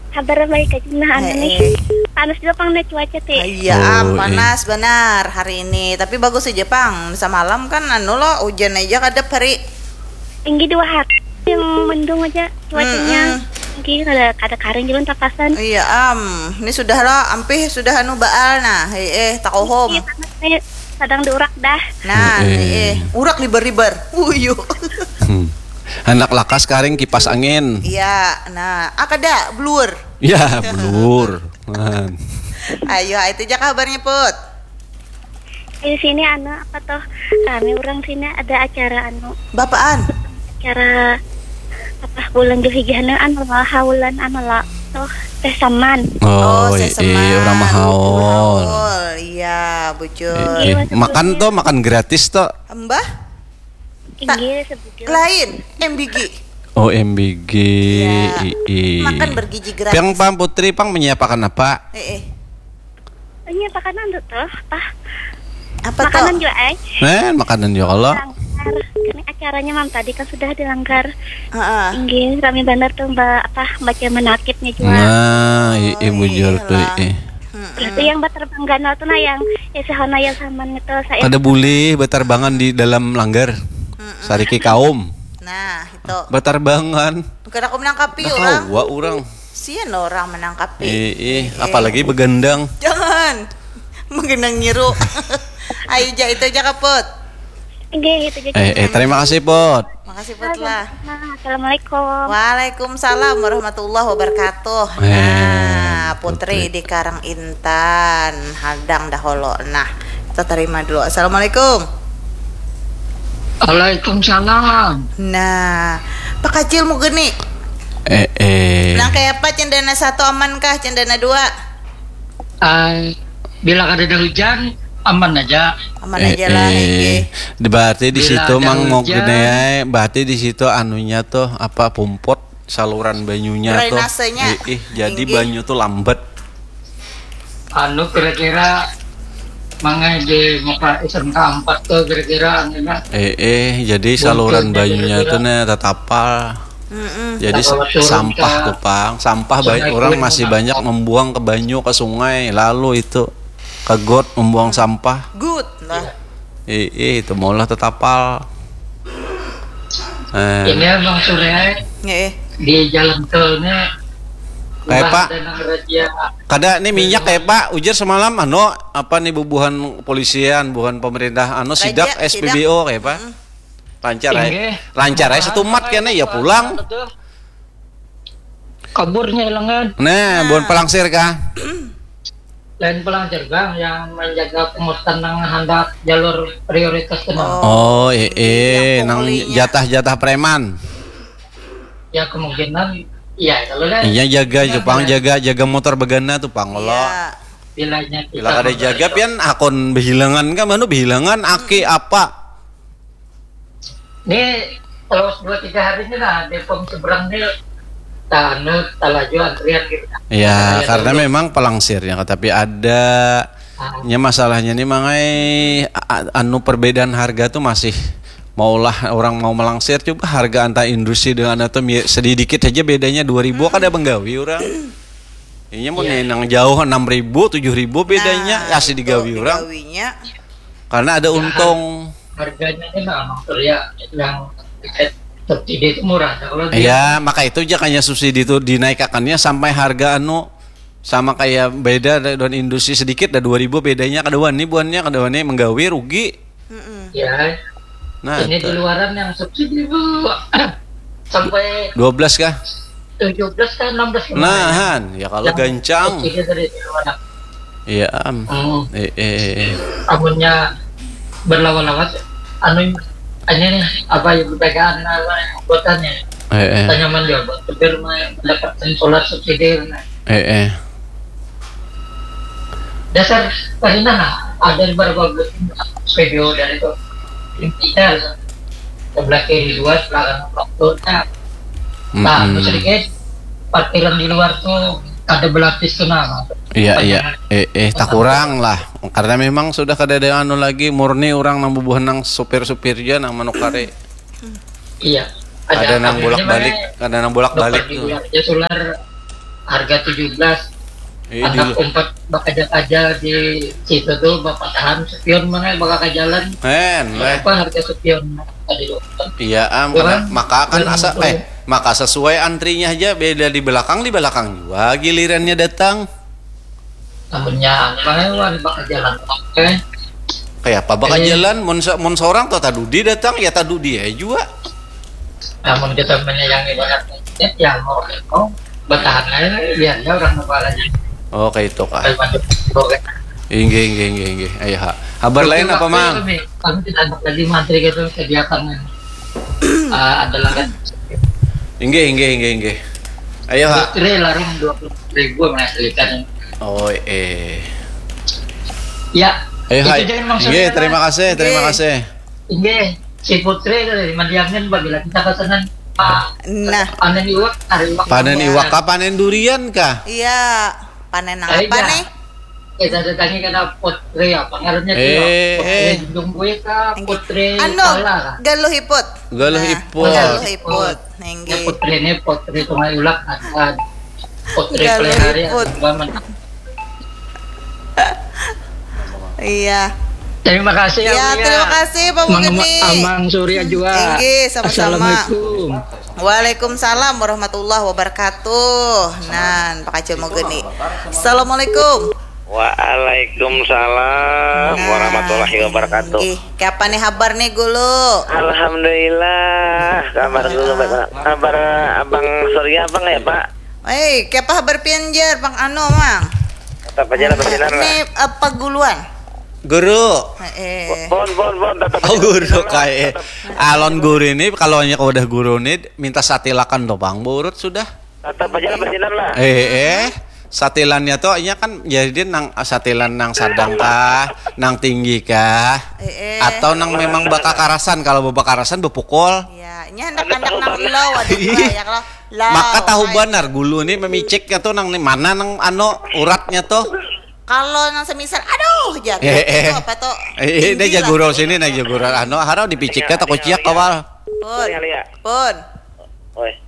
Kabar baik aja nah anu Eh, nih. eh. Panas juga pang nih cuaca ti. Iya, Oh, am, eh. Panas benar hari ini. Tapi bagus aja pang. Semalam kan anu lo hujan aja kadap hari. Tinggi dua hari yang mendung aja cuacanya. Mm-mm. Tinggi kada kada karing juga tapasan. Iya, am. Ini sudah lo, ampih sudah anu baal nah. Hei, eh, takohom. Iya, panas nih. Kadang diurak dah. Nah, Eh, eh, eh. Urak libar-libar. Uyu. Hmm. Anak lakas karing kipas angin. Iya, nah, ah kada blur. Ya, blur. Man. Ayo, itu aja kabarnya, Put. Di sini anu apa tuh? Rame orang sini ada acara anu Bapaan? Acara apa bulan Julhijjah anu anu lah haulan anu lah tuh teh saman. Oh, saya iya, orang mahaul. Iya, bujur. Eh, makan tuh, makan gratis tuh. Mbah? Inggih sebujur. Lain, M B G. Oh, M B G. Iya. Ii. Makan bergizi gratis. Piang pang Putri pang menyiapakan apa? Eh, eh. Ini apa kan anu tuh? Apa? Apa Makanan tuh? Juga eh. Eh, makanan juga kalau. Langgar. Ini acaranya mam tadi kan sudah dilanggar. Heeh. Inggih, rame banget tuh mbak apa baca menakibnya juga. Nah, ii bujur tuh, ii. Itu yang baterbang ganal tuh nah yang ya sehona yang saman itu saya. Kada boleh batarbangan di dalam langgar. Sariki kaum. Nah, itu. Batarbangan. Kada aku menangkapi Dah orang. Kawa orang. Sian orang menangkapi. Ii, apalagi begandang. Jangan. Menggenang nyiru. Ayo, ja, itu aja, Kaput. Inggih, itu aja. Eh, eh, terima kasih, Put. Makasih, Put lah. Nah, assalamualaikum. Waalaikumsalam warahmatullahi wabarakatuh. Eh, Nah, Putri di Karang Intan, hadang dahulu. Nah, kita terima dulu. Assalamualaikum. Waalaikumsalam. Nah, Pak Kacil mau geni. Eh, eh. Nah, kayak apa cendana satu aman kah cendana dua? Ai, bila kada ada hujan, aman aja. Aman aja lah. Eh, Inggih. eh. Berarti di Bila situ ada mang mau hujan. Gede, berarti di situ anunya tuh apa pumpot saluran banyunya tuh. Drainasenya. Eh, eh, jadi Inggih. Banyu tuh lambat. Anu kira-kira mangai di muka S M K empat tuh kira-kira anu nah. Eh, eh, jadi saluran Buntutnya banyunya kira-kira. Tuh nah tatapal. Mm-mm. Jadi Tatapal sa- turun sampah ke tuh pang, sampah Sungai banyak orang Kuning masih Utara. Banyak membuang ke banyu ke sungai, lalu itu ke got membuang sampah. Good lah. Eh, eh, itu maulah tatapal. Eh, Ini emang sore Nggih. di jalan tolnya. Kayak Ulah Pak. Ada nang razia. Kada nih minyak kayak Pak, ujar semalam anu apa nih bubuhan polisian, bubuhan pemerintah anu Raja, sidak sidak. S P B O kayak Pak. Lancar Inggih. ya. Lancar ya setumat kena ya pulang. Kaburnya hilangan. Nah, bukan pelangsir kah? Lain pelangsir bang yang menjaga pengurusan nang handak jalur prioritas kena. Oh, eh, eh, Yang nang punglinya. Jatah-jatah preman. Ya kemungkinan iya kalau lah. Iya jaga Jepang jaga jaga motor begana tuh pang kalau Iya. Bilanya kita bila kada jaga pian akun behilangan kan mana behilangan aki apa Ini kalau dua tiga hari ini lah Depok seberang nih tak anu tak laju antrian gitu. Ya, Antrian karena dulu. Memang pelangsirnya tapi ada Ah, nya masalahnya nih mangai a- anu perbedaan harga tuh masih maulah orang mau melangsir coba harga antar industri dengan atau mi- sedikit aja bedanya dua ribu kada menggawi orang. Ini mau Iya. Nang jauh enam ribu tujuh ribu bedanya Nah, ya sih digawi itu orang. Digawinya. Karena ada untung. Harganya ini memang tuh ya yang tiket subsidi itu murah. Kalau dia Ya, maka itu aja kayaknya subsidi itu dinaikakannya sampai harga anu sama kayak beda da- dengan industri sedikit dah dua ribu bedanya kada wani buannya kada wani menggawi rugi. Mm-mm. ya Nah, ini di itu. Luaran yang subsidi bu sampai Dua belas kah? tujuh belas kan enam belas kemarin. Nahan, ya kalau Yang gancang. Subsidi dari Luaran. Iya, am. Hmm. Eh, eh, eh. Amunnya berlawan-lawan anu ini nih apa yang dipegang apa yang anggotanya Eh, eh. Kita nyaman juga buat supir mah mendapatkan solar subsidi nah. Eh, eh. Dasar karina nah Ada berapa buah video dari itu? Intinya sebelah kiri dua, sebelah kanan satu. Nah, nah, mm-mm, sedikit parkiran di luar tuh ada belapis tuh, nah. Iya, iya. Eh, eh, tak kurang lah. Karena memang sudah kada ada anu lagi, murni orang nang bubuhan nang supir-supir aja nang manukari. Iya. Ada nang bolak-balik, ada nang bolak-balik tuh. Di luar aja sular harga tujuh belas. Eh, anak umpat bakaja-kaja di situ tuh, bapatahan sepion mana bakal ke jalan. Hen, leh. Apa harga sepion tadi tuh? Iya, am, maka akan asa, eh, maka sesuai antrinya aja, beda di belakang, di belakang juga gilirannya datang. Amunnya apa hewan bakal jalan, oke. Kayak apa bakal jalan? Mun se-, mun seorang tuh tadudi datang, ya tadudi ya juga. Namun kita menyayangi banyak, ya mau, mau bertahan aja, biar ya orang kepalanya. Oh, kayak itu kah? Inggih, inggih, inggih, inggih. Ayo, ha. Habar lain apa, Mang? Kami tidak ada lagi mantri gitu, sediakan, eh, adalah kan. Inggih, inggih, inggih, inggih. Ayo, ha. Putri larang dua puluh ribu menghasilkan. Oh, eh. Ya. Ayo, hai. Inggih, terima kasih, terima kasih. Inggih, si Putri tadi madiamnya babila kita pesanan, ah, nah, panen iwak, hari iwak. Panen iwak kah, panen durian kah? Iya, panen apa nih? Kita datangi kena Putri apa ngarannya tuh? Eh, Putri Junjung Buya kah? Putri anu, Kala kah? Galuh Iput. Galuh Iput. Galuh Iput. Nah, ya, Putri ini Putri Sungai Ulak, ada Putri Galuh Pelihari, Iput. Ada dua men-. Iya. Terima kasih, ya, Aulia. Terima kasih, Pak Mang, Mugeni. Amang Surya juga. Inggih, sama-sama. Assalamualaikum. Waalaikumsalam warahmatullahi wabarakatuh. Nan, Pak Acil Mugeni. Assalamualaikum. Waalaikumsalam warahmatullahi wabarakatuh. Inggih. Kaya apa nih habar nih, Gulu? Alhamdulillah, kabar Gulu baik. Kabar Abang Surya apa nggak ya, Pak? Eh, kaya apa habar pian jar, Bang Ano, Mang? Tetap aja lah bersinar lah. Ini apa guluan? Guru. Heeh. Bon, bon, bon, tetap aja bersinar lah. Oh, guru kayak. Alon guru ini kalau hanya kau udah guru nih minta satilakan doang, burut sudah. Tetap aja lah bersinar lah. Eh, eh. Satilannya tuh, nya kan jadi nang satilan nang sadang kah, nang tinggi kah, eh, eh, atau nang memang bakakarasan. Kalau bakakarasan bepukul. Iya, nya handak, handak nang low, aduh, iya, lah, ya kalau low, maka tahu banar gulu nih memiciknya tuh nang nih mana nang anu uratnya tuh. Kalau nang semisal, aduh, jatuh, eh, eh, itu apa tuh? Eh, eh, ini tinggi lah. Jagurau sini, nah, jagurau anu, harau dipiciknya tak kuciak kawal. Pun. Iya, iya. Pun. Oi.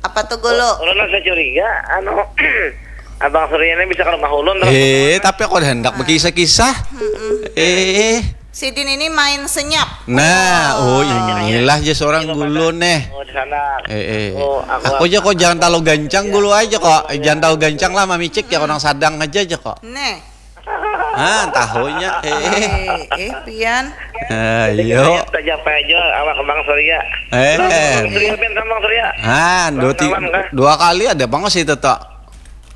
Apa tuh, Gulu? Ulun rasa curiga, anu, Abang Surya ini bisa ke rumah ulun terus. Eh, tapi aku ada hendak berkisah-kisah. Mm-mm. Eh. Sidin ini main senyap. Nah, oh, inilah aja seorang gulu nih. Oh, di sana. Eh, eh. Oh, aku aja kok jangan terlalu gancang gulu aja kok. Eh, jangan terlalu gancang lah, mamicik ya, orang sadang aja aja kok. Nih. Ah, tahunya, eh. Eh, eh, pian. Ah, jadi iya. Kita japai aja awak Bang Surya. Eh. Bang Surya, pian sama Bang Surya. Ah, dua, ti-, dua kali ada Bang situ, tok.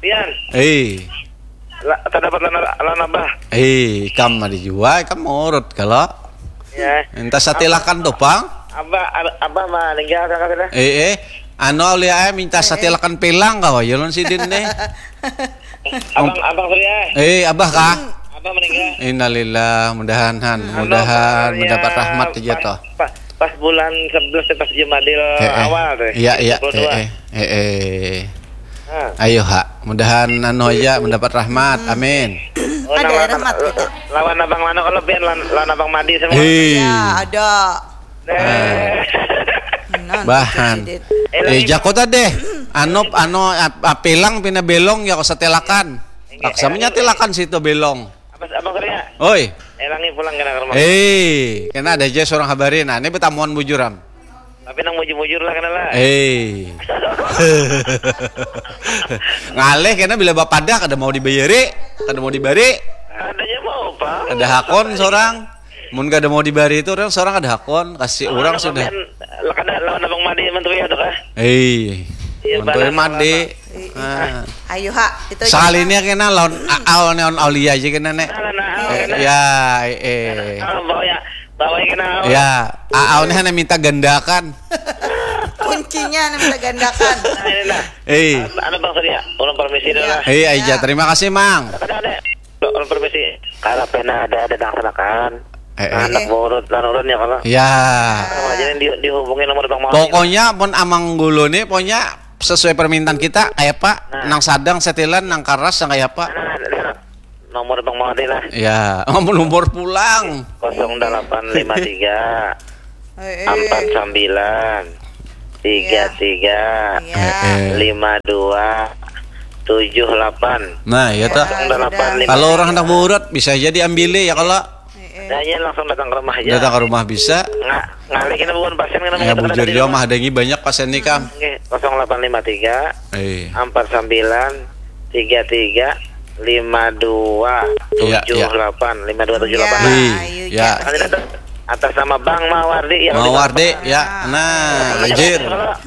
Pian. Eh. La-, terdapat lana, lana bah. Eh, ikam ada jua, ikam urut kalau. Ya. Minta satilakan tuh, Bang. Abah, ab-, abah mah ninggal kakak sudah. Eh, eh. Anu, Aulia, eh, minta satilakan pelang kau, ya, lon sidin deh. Abang, Abang Surya. Eh, abah kah? Abah meninggal. Innalillah, mudahan, han, hmm, mudahan mendapat rahmat aja toh. Pas, pas bulan sebelas, pas Jumadil awal tuh. Iya, iya, eh, eh, eh, eh. Nah. Ayo, ha, mudahan anu aja mendapat rahmat. Hmm. Amin. Oh, ada rahmat kita. Lawan Abang Lano kalau pian lawan, lawan Abang Madi sama. Hei. Ya, ada. Nah. Bahan. Eh, jako tadi. Anu, anu, ap-, apilang pina belong ya, kau setelakan. Paksa menyatilakan situ belong. Apa, Abang Surya? Oi. Elangi pulang kena ke rumah. Eh, kena ada aja seorang habari. Nah, ini betamuan bujuran. Tapi nang mujur-mujur lah kena lah. Eh. Ngalih kena bila bapadah kada mau dibayari, kada mau dibari. Adanya mau, Pak. Ada hakon seorang. Mun kada mau dibari itu orang seorang ada hakon, kasih orang sudah. Kada lawan Abang Madi menteri ada kah? Eh. Iya, menteri Madi. Ah. Ayo, ha, itu aja. Sekali ini kena lawan Aal, neon Aulia aja kena, nek. Nah, nah, nah, eh, kena. Ya, eh, eh. Nah, bawa ya. Bawa ya kena. Ya, Aal nih hanya minta gandakan. Kuncinya hanya minta gandakan. Nah, ini nah. Eh. Ada Bang Surya, orang permisi dulu lah. Eh, aja. Ya. Terima kasih, Mang. Ada, ada. Orang permisi. Kalau pernah ada, ada laksanakan. Eh, eh. Anak urut, lan urun ya kalau. Ya. Sama aja yang di, dihubungi nomor Bang Mawar. Pokoknya pun Amang Gulu nih, pokoknya sesuai permintaan kita, kayak apa? Nah. Nang sadang setilan, nang karas, nang kayak apa? Nah, nah, nah. Nomor Bang Mawar lah. Ya, nomor pulang. Kosong delapan lima tiga. Eh, eh. Empat sembilan, tiga tiga, Iya. Eh, eh. Lima dua, tujuh delapan. Nah, ya, tak. Kosong delapan lima tiga. Kalau orang hendak beurut, bisa aja diambil ya, kalau Eh, eh. Nah, iya, langsung datang ke rumah aja. Datang ke rumah bisa. Nga-, ngalih kena bukan pasien, kena Ya, mengatakan bujur dari dia rumah. Mah, ada yang banyak pasien nih, Kam. Oke, kosong delapan lima tiga, Eh. Empat sembilan, tiga tiga, lima dua, Iya, iya. Tujuh delapan, lima dua tujuh delapan. Ya, Ih, ayo, ya. Cak. Nanti datang atas nama Bang Mawardi yang Mawardi, di ya. Ah. Nah, anjir.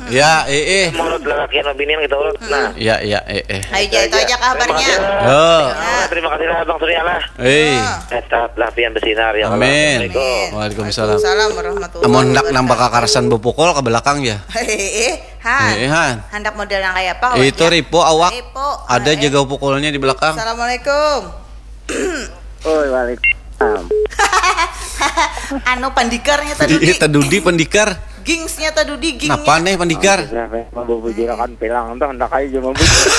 Ya, eh, eh. Menurut lelaki yang binian kita urut. Nah. Ya, ya, eh, eh. Ayo, Itu Cak, itu aja. Aja kabarnya. Terima kasih. Oh. Ya. Terima kasih lah, Bang Surya lah. Eh. Ah. Tetaplah pian bersinar, ya Allah. Amin. Assalamualaikum. Waalaikumsalam. Waalaikumsalam warahmatullahi Amun hendak nambah wabarakatuh. Kakarasan bepukul ke belakang ya. Eh, eh, Han. Eh, eh, Han. Hendak model yang kayak apa, Itu kawannya? Ripo awak. Ripo. Ada Eh, eh. jaga pukulnya di belakang. Assalamualaikum. Oi, waalaikumsalam. Anu, pandikarnya tadi. Iya, tadudi pandikar. Gingsnya tadudi, gingnya. Napa nih pandikar? Siapa yang mau bubujurakan pilang tuh, hendak aja mau bujur.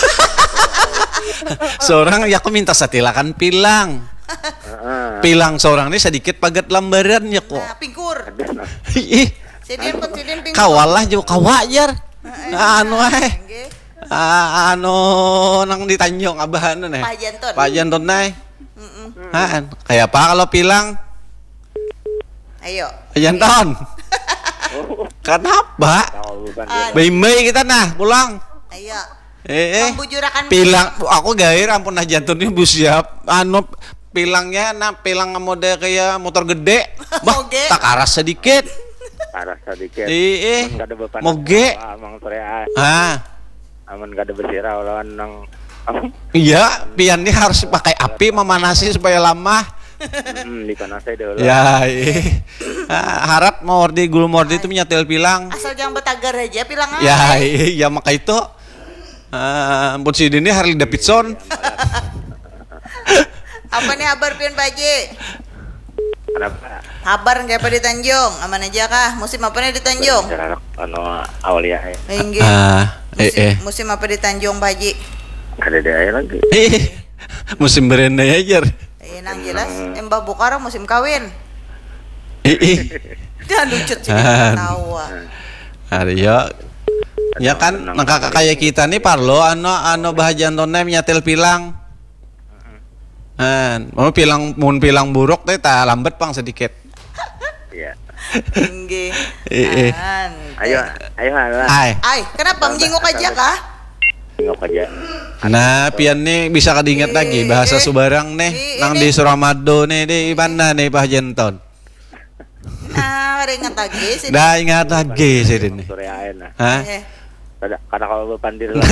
Seorang ya aku minta setilakan pilang. Heeh. Pilang seorang ini sedikit pagat lambaran ya kok. Nah, pingkur. Ada, nah. Ih, Sidin pun sidin pingkur. Kawalah jauh kawa jar. Heeh. Anu, eh. Nggih. Ah, anu, nang di Tanjung, Abah anu, neh. Pak Janton. Pak Janton, neh. Mm-mm. Han, kayak apa kalau pilang? Ayo. Pak Janton. Kenapa? Tahu, bukan dia. Aduh. Baimbai kita, nah, pulang. Ayo. Eh, eh. Membujurakan Pilang, aku gair, ampun, nah, Janton ini bu siap. Anu, pilangnya, nah, pilang model kayak motor gede. Bah, Moge. Tak karas sedikit. Karas sedikit. Iya, eh. Mun kada bapanas Moge. Apa, Mang Surya? Ah. Amun kada bersirau lawan nang Iya, pian ni harus pakai api memanasi supaya lamah. Hmm, dipanasi dulu. Ya, iya. Ah, harat mau ordi gulu mordi itu menyetel pilang. Asal jangan betagar aja pilang. Ya, iya, iya, maka itu. Ah, ampun sidin ni Harley Davidson. Iya, iya, iya. Apa nih kabar pian, Pak Haji? Kenapa? Habar kayak apa di Tanjung? Aman aja kah? Musim apa nih di Tanjung? Jarak, anu, Aulia, eh. Inggih. Ah, eh, Musim, eh. musim apa di Tanjung, Pak Haji? Ada deh aja lagi. Eh, musim berendai aja. Iya, nang jelas, Hmm. embah bukar musim kawin. Eh, eh. Dah lucut sih, Ah. ketawa. Ada ya. Ya kan, Tenang, nang kakak tenang. Kayak kita nih, parlo, anu, anu, bahagian tonai menyetel pilang. Nah, mau pilang, mun pilang buruk teh, ta lambat pang sedikit. Iya. Inggih. Eh, eh. An. Ayo, ayo, halo. Ai. Ai, kenapa Sabar, menjenguk aja sabar. Kah? Jenguk aja. Nah, pian nih bisa kada ingat lagi bahasa Subarang nih. Ih, nang ini. Di Suramadu nih, di mana nih, Pak Jenton? Nah, kada ingat lagi sih. Dah ingat lagi sih ini. Sore ae nah. Hah? Eh. Kada, kada kawa bapandir lah.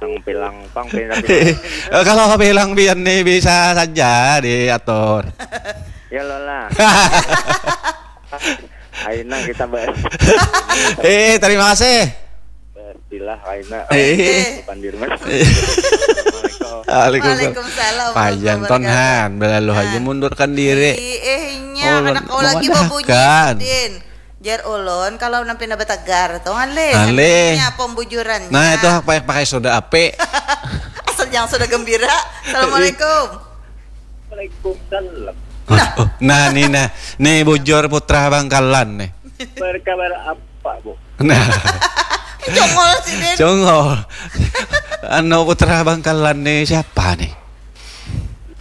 Nang pilang pang pindah-pindah. Eh, kalau pilang pian nih bisa saja diatur. Ya lo lah. Aina kita bahas. Eh, terima kasih. Pastilah, Aina. Eh. Pandir, Mas. Eh. Assalamualaikum. Waalaikumsalam. Waalaikumsalam Pak Janton, warahmatullahi wabarakatuh. Han, belalu aja Ah. mundurkan diri. Ih, eh, inya, oh, kada kawa lagi memudahkan. Babunyi, Din. Jar ulun, kalau nang pina bategar tu, ngalih. Ngalih. Inya pembujurannya. Nah, itu pakai, pakai soda api. Asal jangan soda gembira. Assalamualaikum. Waalaikumsalam. Nah. Oh, nah, nih, nah. Nih, bujur putra Bangkalan, nih. Berkabar apa, Bu? Nah. Congol sidin. Congol. Anu, putra Bangkalan nih siapa nih?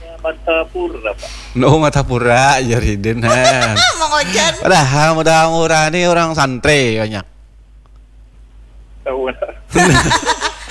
Ya, Martapura, Pak. No, Martapura, ya, Ridin, han. Mang Ojan. Padahal Martapura nih orang santri banyak. Tahu lah.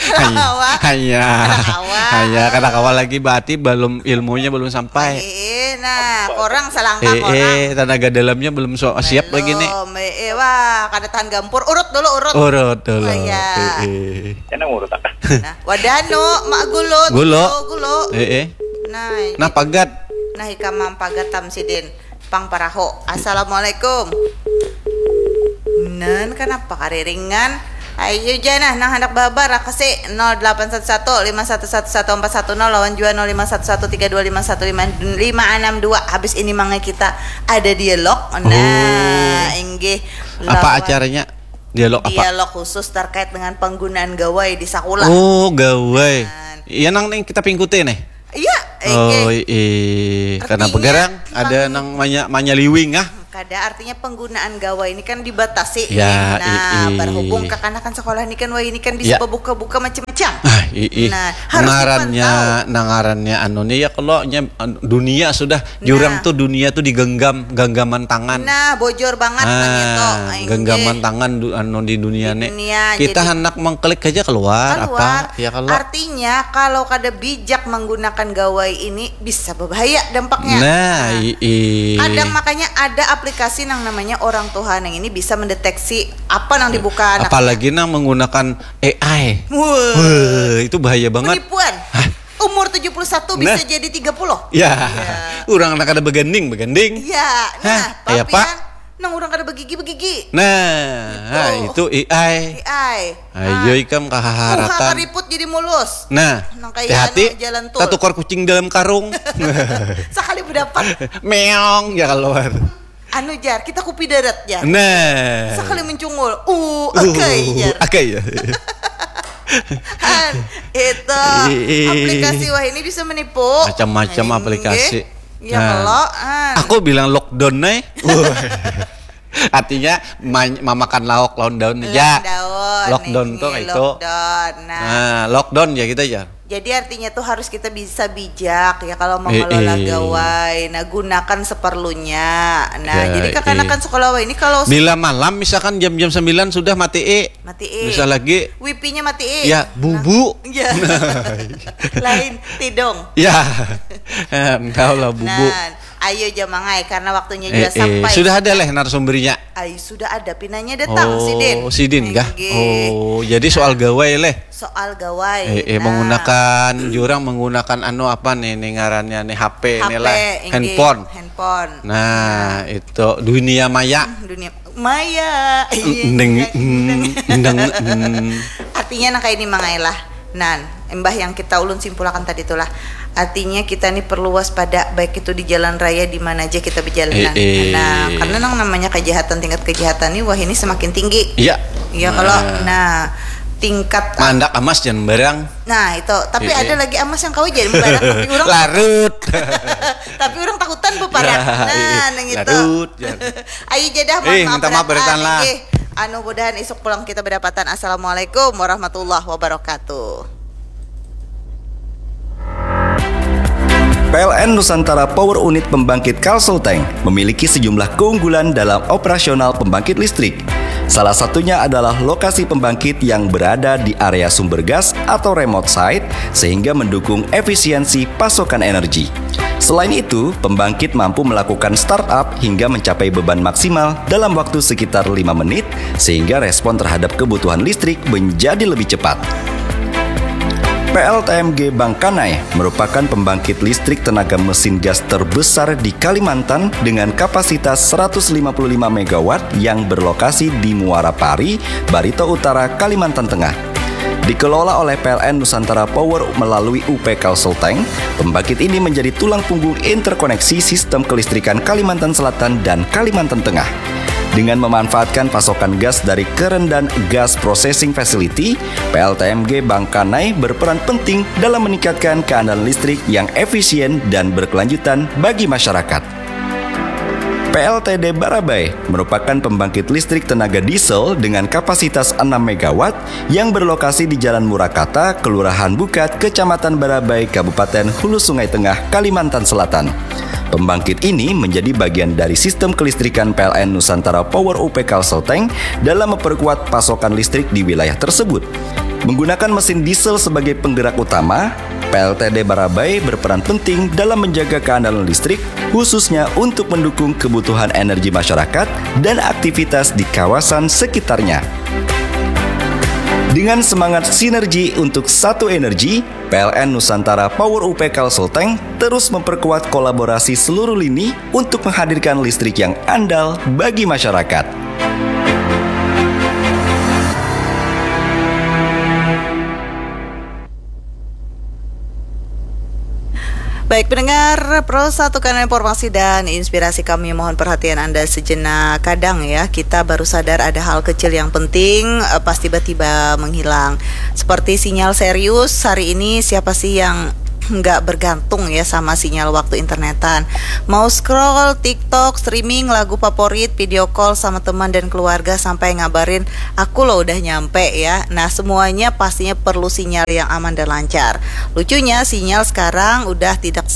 Hanya, Kawa. Hanya, Kada kawa. Hanya, kada kawa lagi, berarti belum, ilmunya belum sampai. Iya, nah, apa? Korang selangkah. Iya, korang. Tenaga dalamnya belum so-, siap lagi nih. Belum, iya, wah, kada tahan gampur. Urut dulu, urut. Urut dulu. Oh, iya. Iya. Kena urut apa? Nah, wadanu, mak gulut. Gulo. Gulo, gulo. Iya. Nah, nah, ini. Pagat. Nah, ikam mampagat tam sidin. Pang paraho. Assalamualaikum. Nan, kenapa kariringan? Ayu ja nah, nang handak babar, rakasi nol delapan satu satu lima satu satu satu empat satu nol lawan jua nol lima satu satu tiga dua lima satu lima lima anam dua. Habis ini mangnya kita ada dialog. Nah, inggih. Apa acaranya? Dialog apa? Dialog khusus terkait dengan penggunaan gawai di sakulah. Oh, gawai. Iya, nang ning kita pingkuti nih. Iya, Oh, inggih. Iya. Karena Artinya, begarang ada pang- nang manya manyaliwing ah. Kada, artinya penggunaan gawai ini kan dibatasi. Ya, Nah, ii. berhubung kakanakan sekolah ini kan, wah, ini kan bisa Ya. bebuka-buka macam-macam. Ah, ii. Nah, harus Ngarannya, dipantau. Nah, ngarannya anu nih ya, kalau nya anu, dunia sudah jurang Nah. Tuh, dunia tuh digenggaman tangan. Nah, bojor banget Ah, nang itu. Inggih. Genggaman tangan du, anu di dunia Di nih. Dunia, Kita jadi hendak mengklik aja keluar, Keluar. Apa? Ya kalau Artinya, kalau kada bijak menggunakan gawai ini, bisa berbahaya dampaknya. Nah, ii. Kadang makanya ada aplikasi yang namanya Orang Tuhan yang ini bisa mendeteksi apa yang dibuka anak. Apalagi nang menggunakan A I. Wah. Wah, itu bahaya banget. Penipuan. Umur tujuh puluh satu bisa jadi tiga puluh. Ya. Orang nak ada beganding, beganding. Ya. Nah, Hah, kayak papian, apa? Nang orang kada begigi-begigi. Nah, itu A I. A I. Ayo ikam Muha kaharakan. Kariput jadi mulus. Nah, Nang kayak hati-hati. Anu, jalan tur. Tatukar kucing dalam karung. Sekali berdapat. Meong ya keluar. Anu jar, kita kupi darat jar. Nah. Sekali mencungul. Uh, akai jar. Akai ya. Han, itu Ih. Aplikasi wah ini bisa menipu. Macam-macam Inggih. Aplikasi. Ya Nah. Kalau, Han. Aku bilang lockdown nih. Artinya ma- memakan lauk lawan daun Lawan ya. Daun, Lockdown nih, tuh itu. Lockdown. Nah. Nah, lockdown ya kita ya. Jadi artinya tuh harus kita bisa bijak ya kalau mengelola Eh, eh. Gawai. Nah, gunakan seperlunya. Nah, Ya, jadi kakanakan eh. Sekolah wah ini kalau Bila malam misalkan jam-jam sembilan sudah mati eh. Mati eh. Bisa lagi. Wipinya mati eh. Ya, bubu. Ya. Lain tidung. Ya. Tahu lah bubu. Nah, ayo jamangai karena waktunya juga Eh, eh, sampai. Sudah ada leh narasumbernya. Ayo sudah ada pinanya datang Oh, sidin. sidin kah? Inggih. Oh, jadi soal gawai leh. Soal gawai. Eh, eh, Nah. Menggunakan jurang menggunakan anu apa nih, nih ngarannya nih H P, nih H P, lah, inggih. Handphone. Handphone. Nah, itu dunia maya. Hmm, dunia maya. Iya. Ndeng, Ndeng. ndeng, mm. Artinya nah kayak ini mangailah. Nan, imbah yang kita ulun simpulakan tadi itulah. Artinya kita nih perlu waspada baik itu di jalan raya di mana aja kita berjalan. Eh, eh. Nah, karena nang namanya kejahatan, tingkat kejahatan nih wah ini semakin tinggi. Iya. Iya kalau nah tingkat Mandak amas jangan barang. Nah itu, tapi Eh, eh. Ada lagi amas yang kau jadi barang tapi orang Larut. Tapi orang takutan beparak. Ya, Nah, iya. Nang itu. Larut, ya. Ayo jadah mohon Eh, maaf minta maaf berataan, berataan lah. Inggih. Anu mudahan isuk pulang kita berdapatan. Assalamualaikum warahmatullahi wabarakatuh. P L N Nusantara Power Unit Pembangkit Kalsel Tank memiliki sejumlah keunggulan dalam operasional pembangkit listrik. Salah satunya adalah lokasi pembangkit yang berada di area sumber gas atau remote site sehingga mendukung efisiensi pasokan energi. Selain itu, pembangkit mampu melakukan startup hingga mencapai beban maksimal dalam waktu sekitar lima menit sehingga respon terhadap kebutuhan listrik menjadi lebih cepat. P L T M G Bangkanai merupakan pembangkit listrik tenaga mesin gas terbesar di Kalimantan dengan kapasitas seratus lima puluh lima megawatt yang berlokasi di Muara Pari, Barito Utara, Kalimantan Tengah. Dikelola oleh P L N Nusantara Power melalui U P Kalsel Tank, pembangkit ini menjadi tulang punggung interkoneksi sistem kelistrikan Kalimantan Selatan dan Kalimantan Tengah. Dengan memanfaatkan pasokan gas dari Kerendan Gas Processing Facility, P L T M G Bangkanai berperan penting dalam meningkatkan keandalan listrik yang efisien dan berkelanjutan bagi masyarakat. P L T D Barabai merupakan pembangkit listrik tenaga diesel dengan kapasitas enam megawatt yang berlokasi di Jalan Murakata, Kelurahan Bukat, Kecamatan Barabai, Kabupaten Hulu Sungai Tengah, Kalimantan Selatan. Pembangkit ini menjadi bagian dari sistem kelistrikan P L N Nusantara Power U P Kalsel Tank dalam memperkuat pasokan listrik di wilayah tersebut. Menggunakan mesin diesel sebagai penggerak utama, P L T D Barabai berperan penting dalam menjaga keandalan listrik, khususnya untuk mendukung kebutuhan energi masyarakat dan aktivitas di kawasan sekitarnya. Dengan semangat sinergi untuk satu energi, P L N Nusantara Power U P Kalsel Tank terus memperkuat kolaborasi seluruh lini untuk menghadirkan listrik yang andal bagi masyarakat. Baik pendengar, Pro satu kanal informasi dan inspirasi kami mohon perhatian Anda sejenak. Kadang ya, kita baru sadar ada hal kecil yang penting, eh, pas tiba-tiba menghilang. Seperti sinyal serius, hari ini siapa sih yang nggak bergantung ya sama sinyal waktu internetan. Mau scroll TikTok, streaming lagu favorit, video call sama teman dan keluarga sampai ngabarin, "Aku lo udah nyampe ya." Nah, semuanya pastinya perlu sinyal yang aman dan lancar. Lucunya, sinyal sekarang udah tidak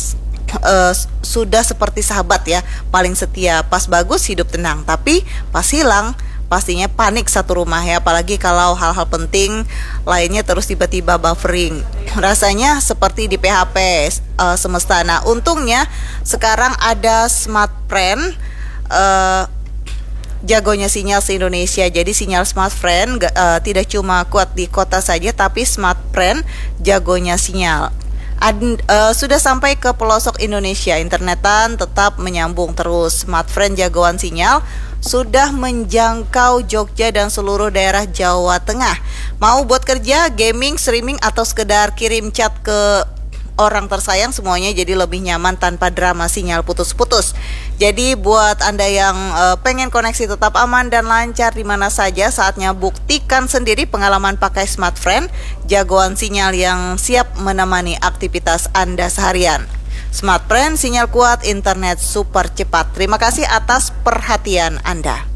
eh, sudah seperti sahabat ya, paling setia. Pas bagus hidup tenang, tapi pas hilang pastinya panik satu rumah ya, apalagi kalau hal-hal penting lainnya terus tiba-tiba buffering. Rasanya seperti di P H P eh, semesta. Nah, untungnya sekarang ada Smart Friend eh, jagonya sinyal se-Indonesia. Jadi sinyal Smart Friend ga- eh, tidak cuma kuat di kota saja, tapi Smart Friend jagonya sinyal. Ad- eh, sudah sampai ke pelosok Indonesia, internetan tetap menyambung terus. Smart Friend jagoan sinyal sudah menjangkau Jogja dan seluruh daerah Jawa Tengah. Mau buat kerja, gaming, streaming, atau sekedar kirim chat ke orang tersayang, semuanya jadi lebih nyaman tanpa drama sinyal putus-putus. Jadi buat Anda yang eh, pengen koneksi tetap aman dan lancar di mana saja, saatnya buktikan sendiri pengalaman pakai Smart Friend, jagoan sinyal yang siap menemani aktivitas Anda seharian. Smart Friend, sinyal kuat, internet super cepat. Terima kasih atas perhatian Anda.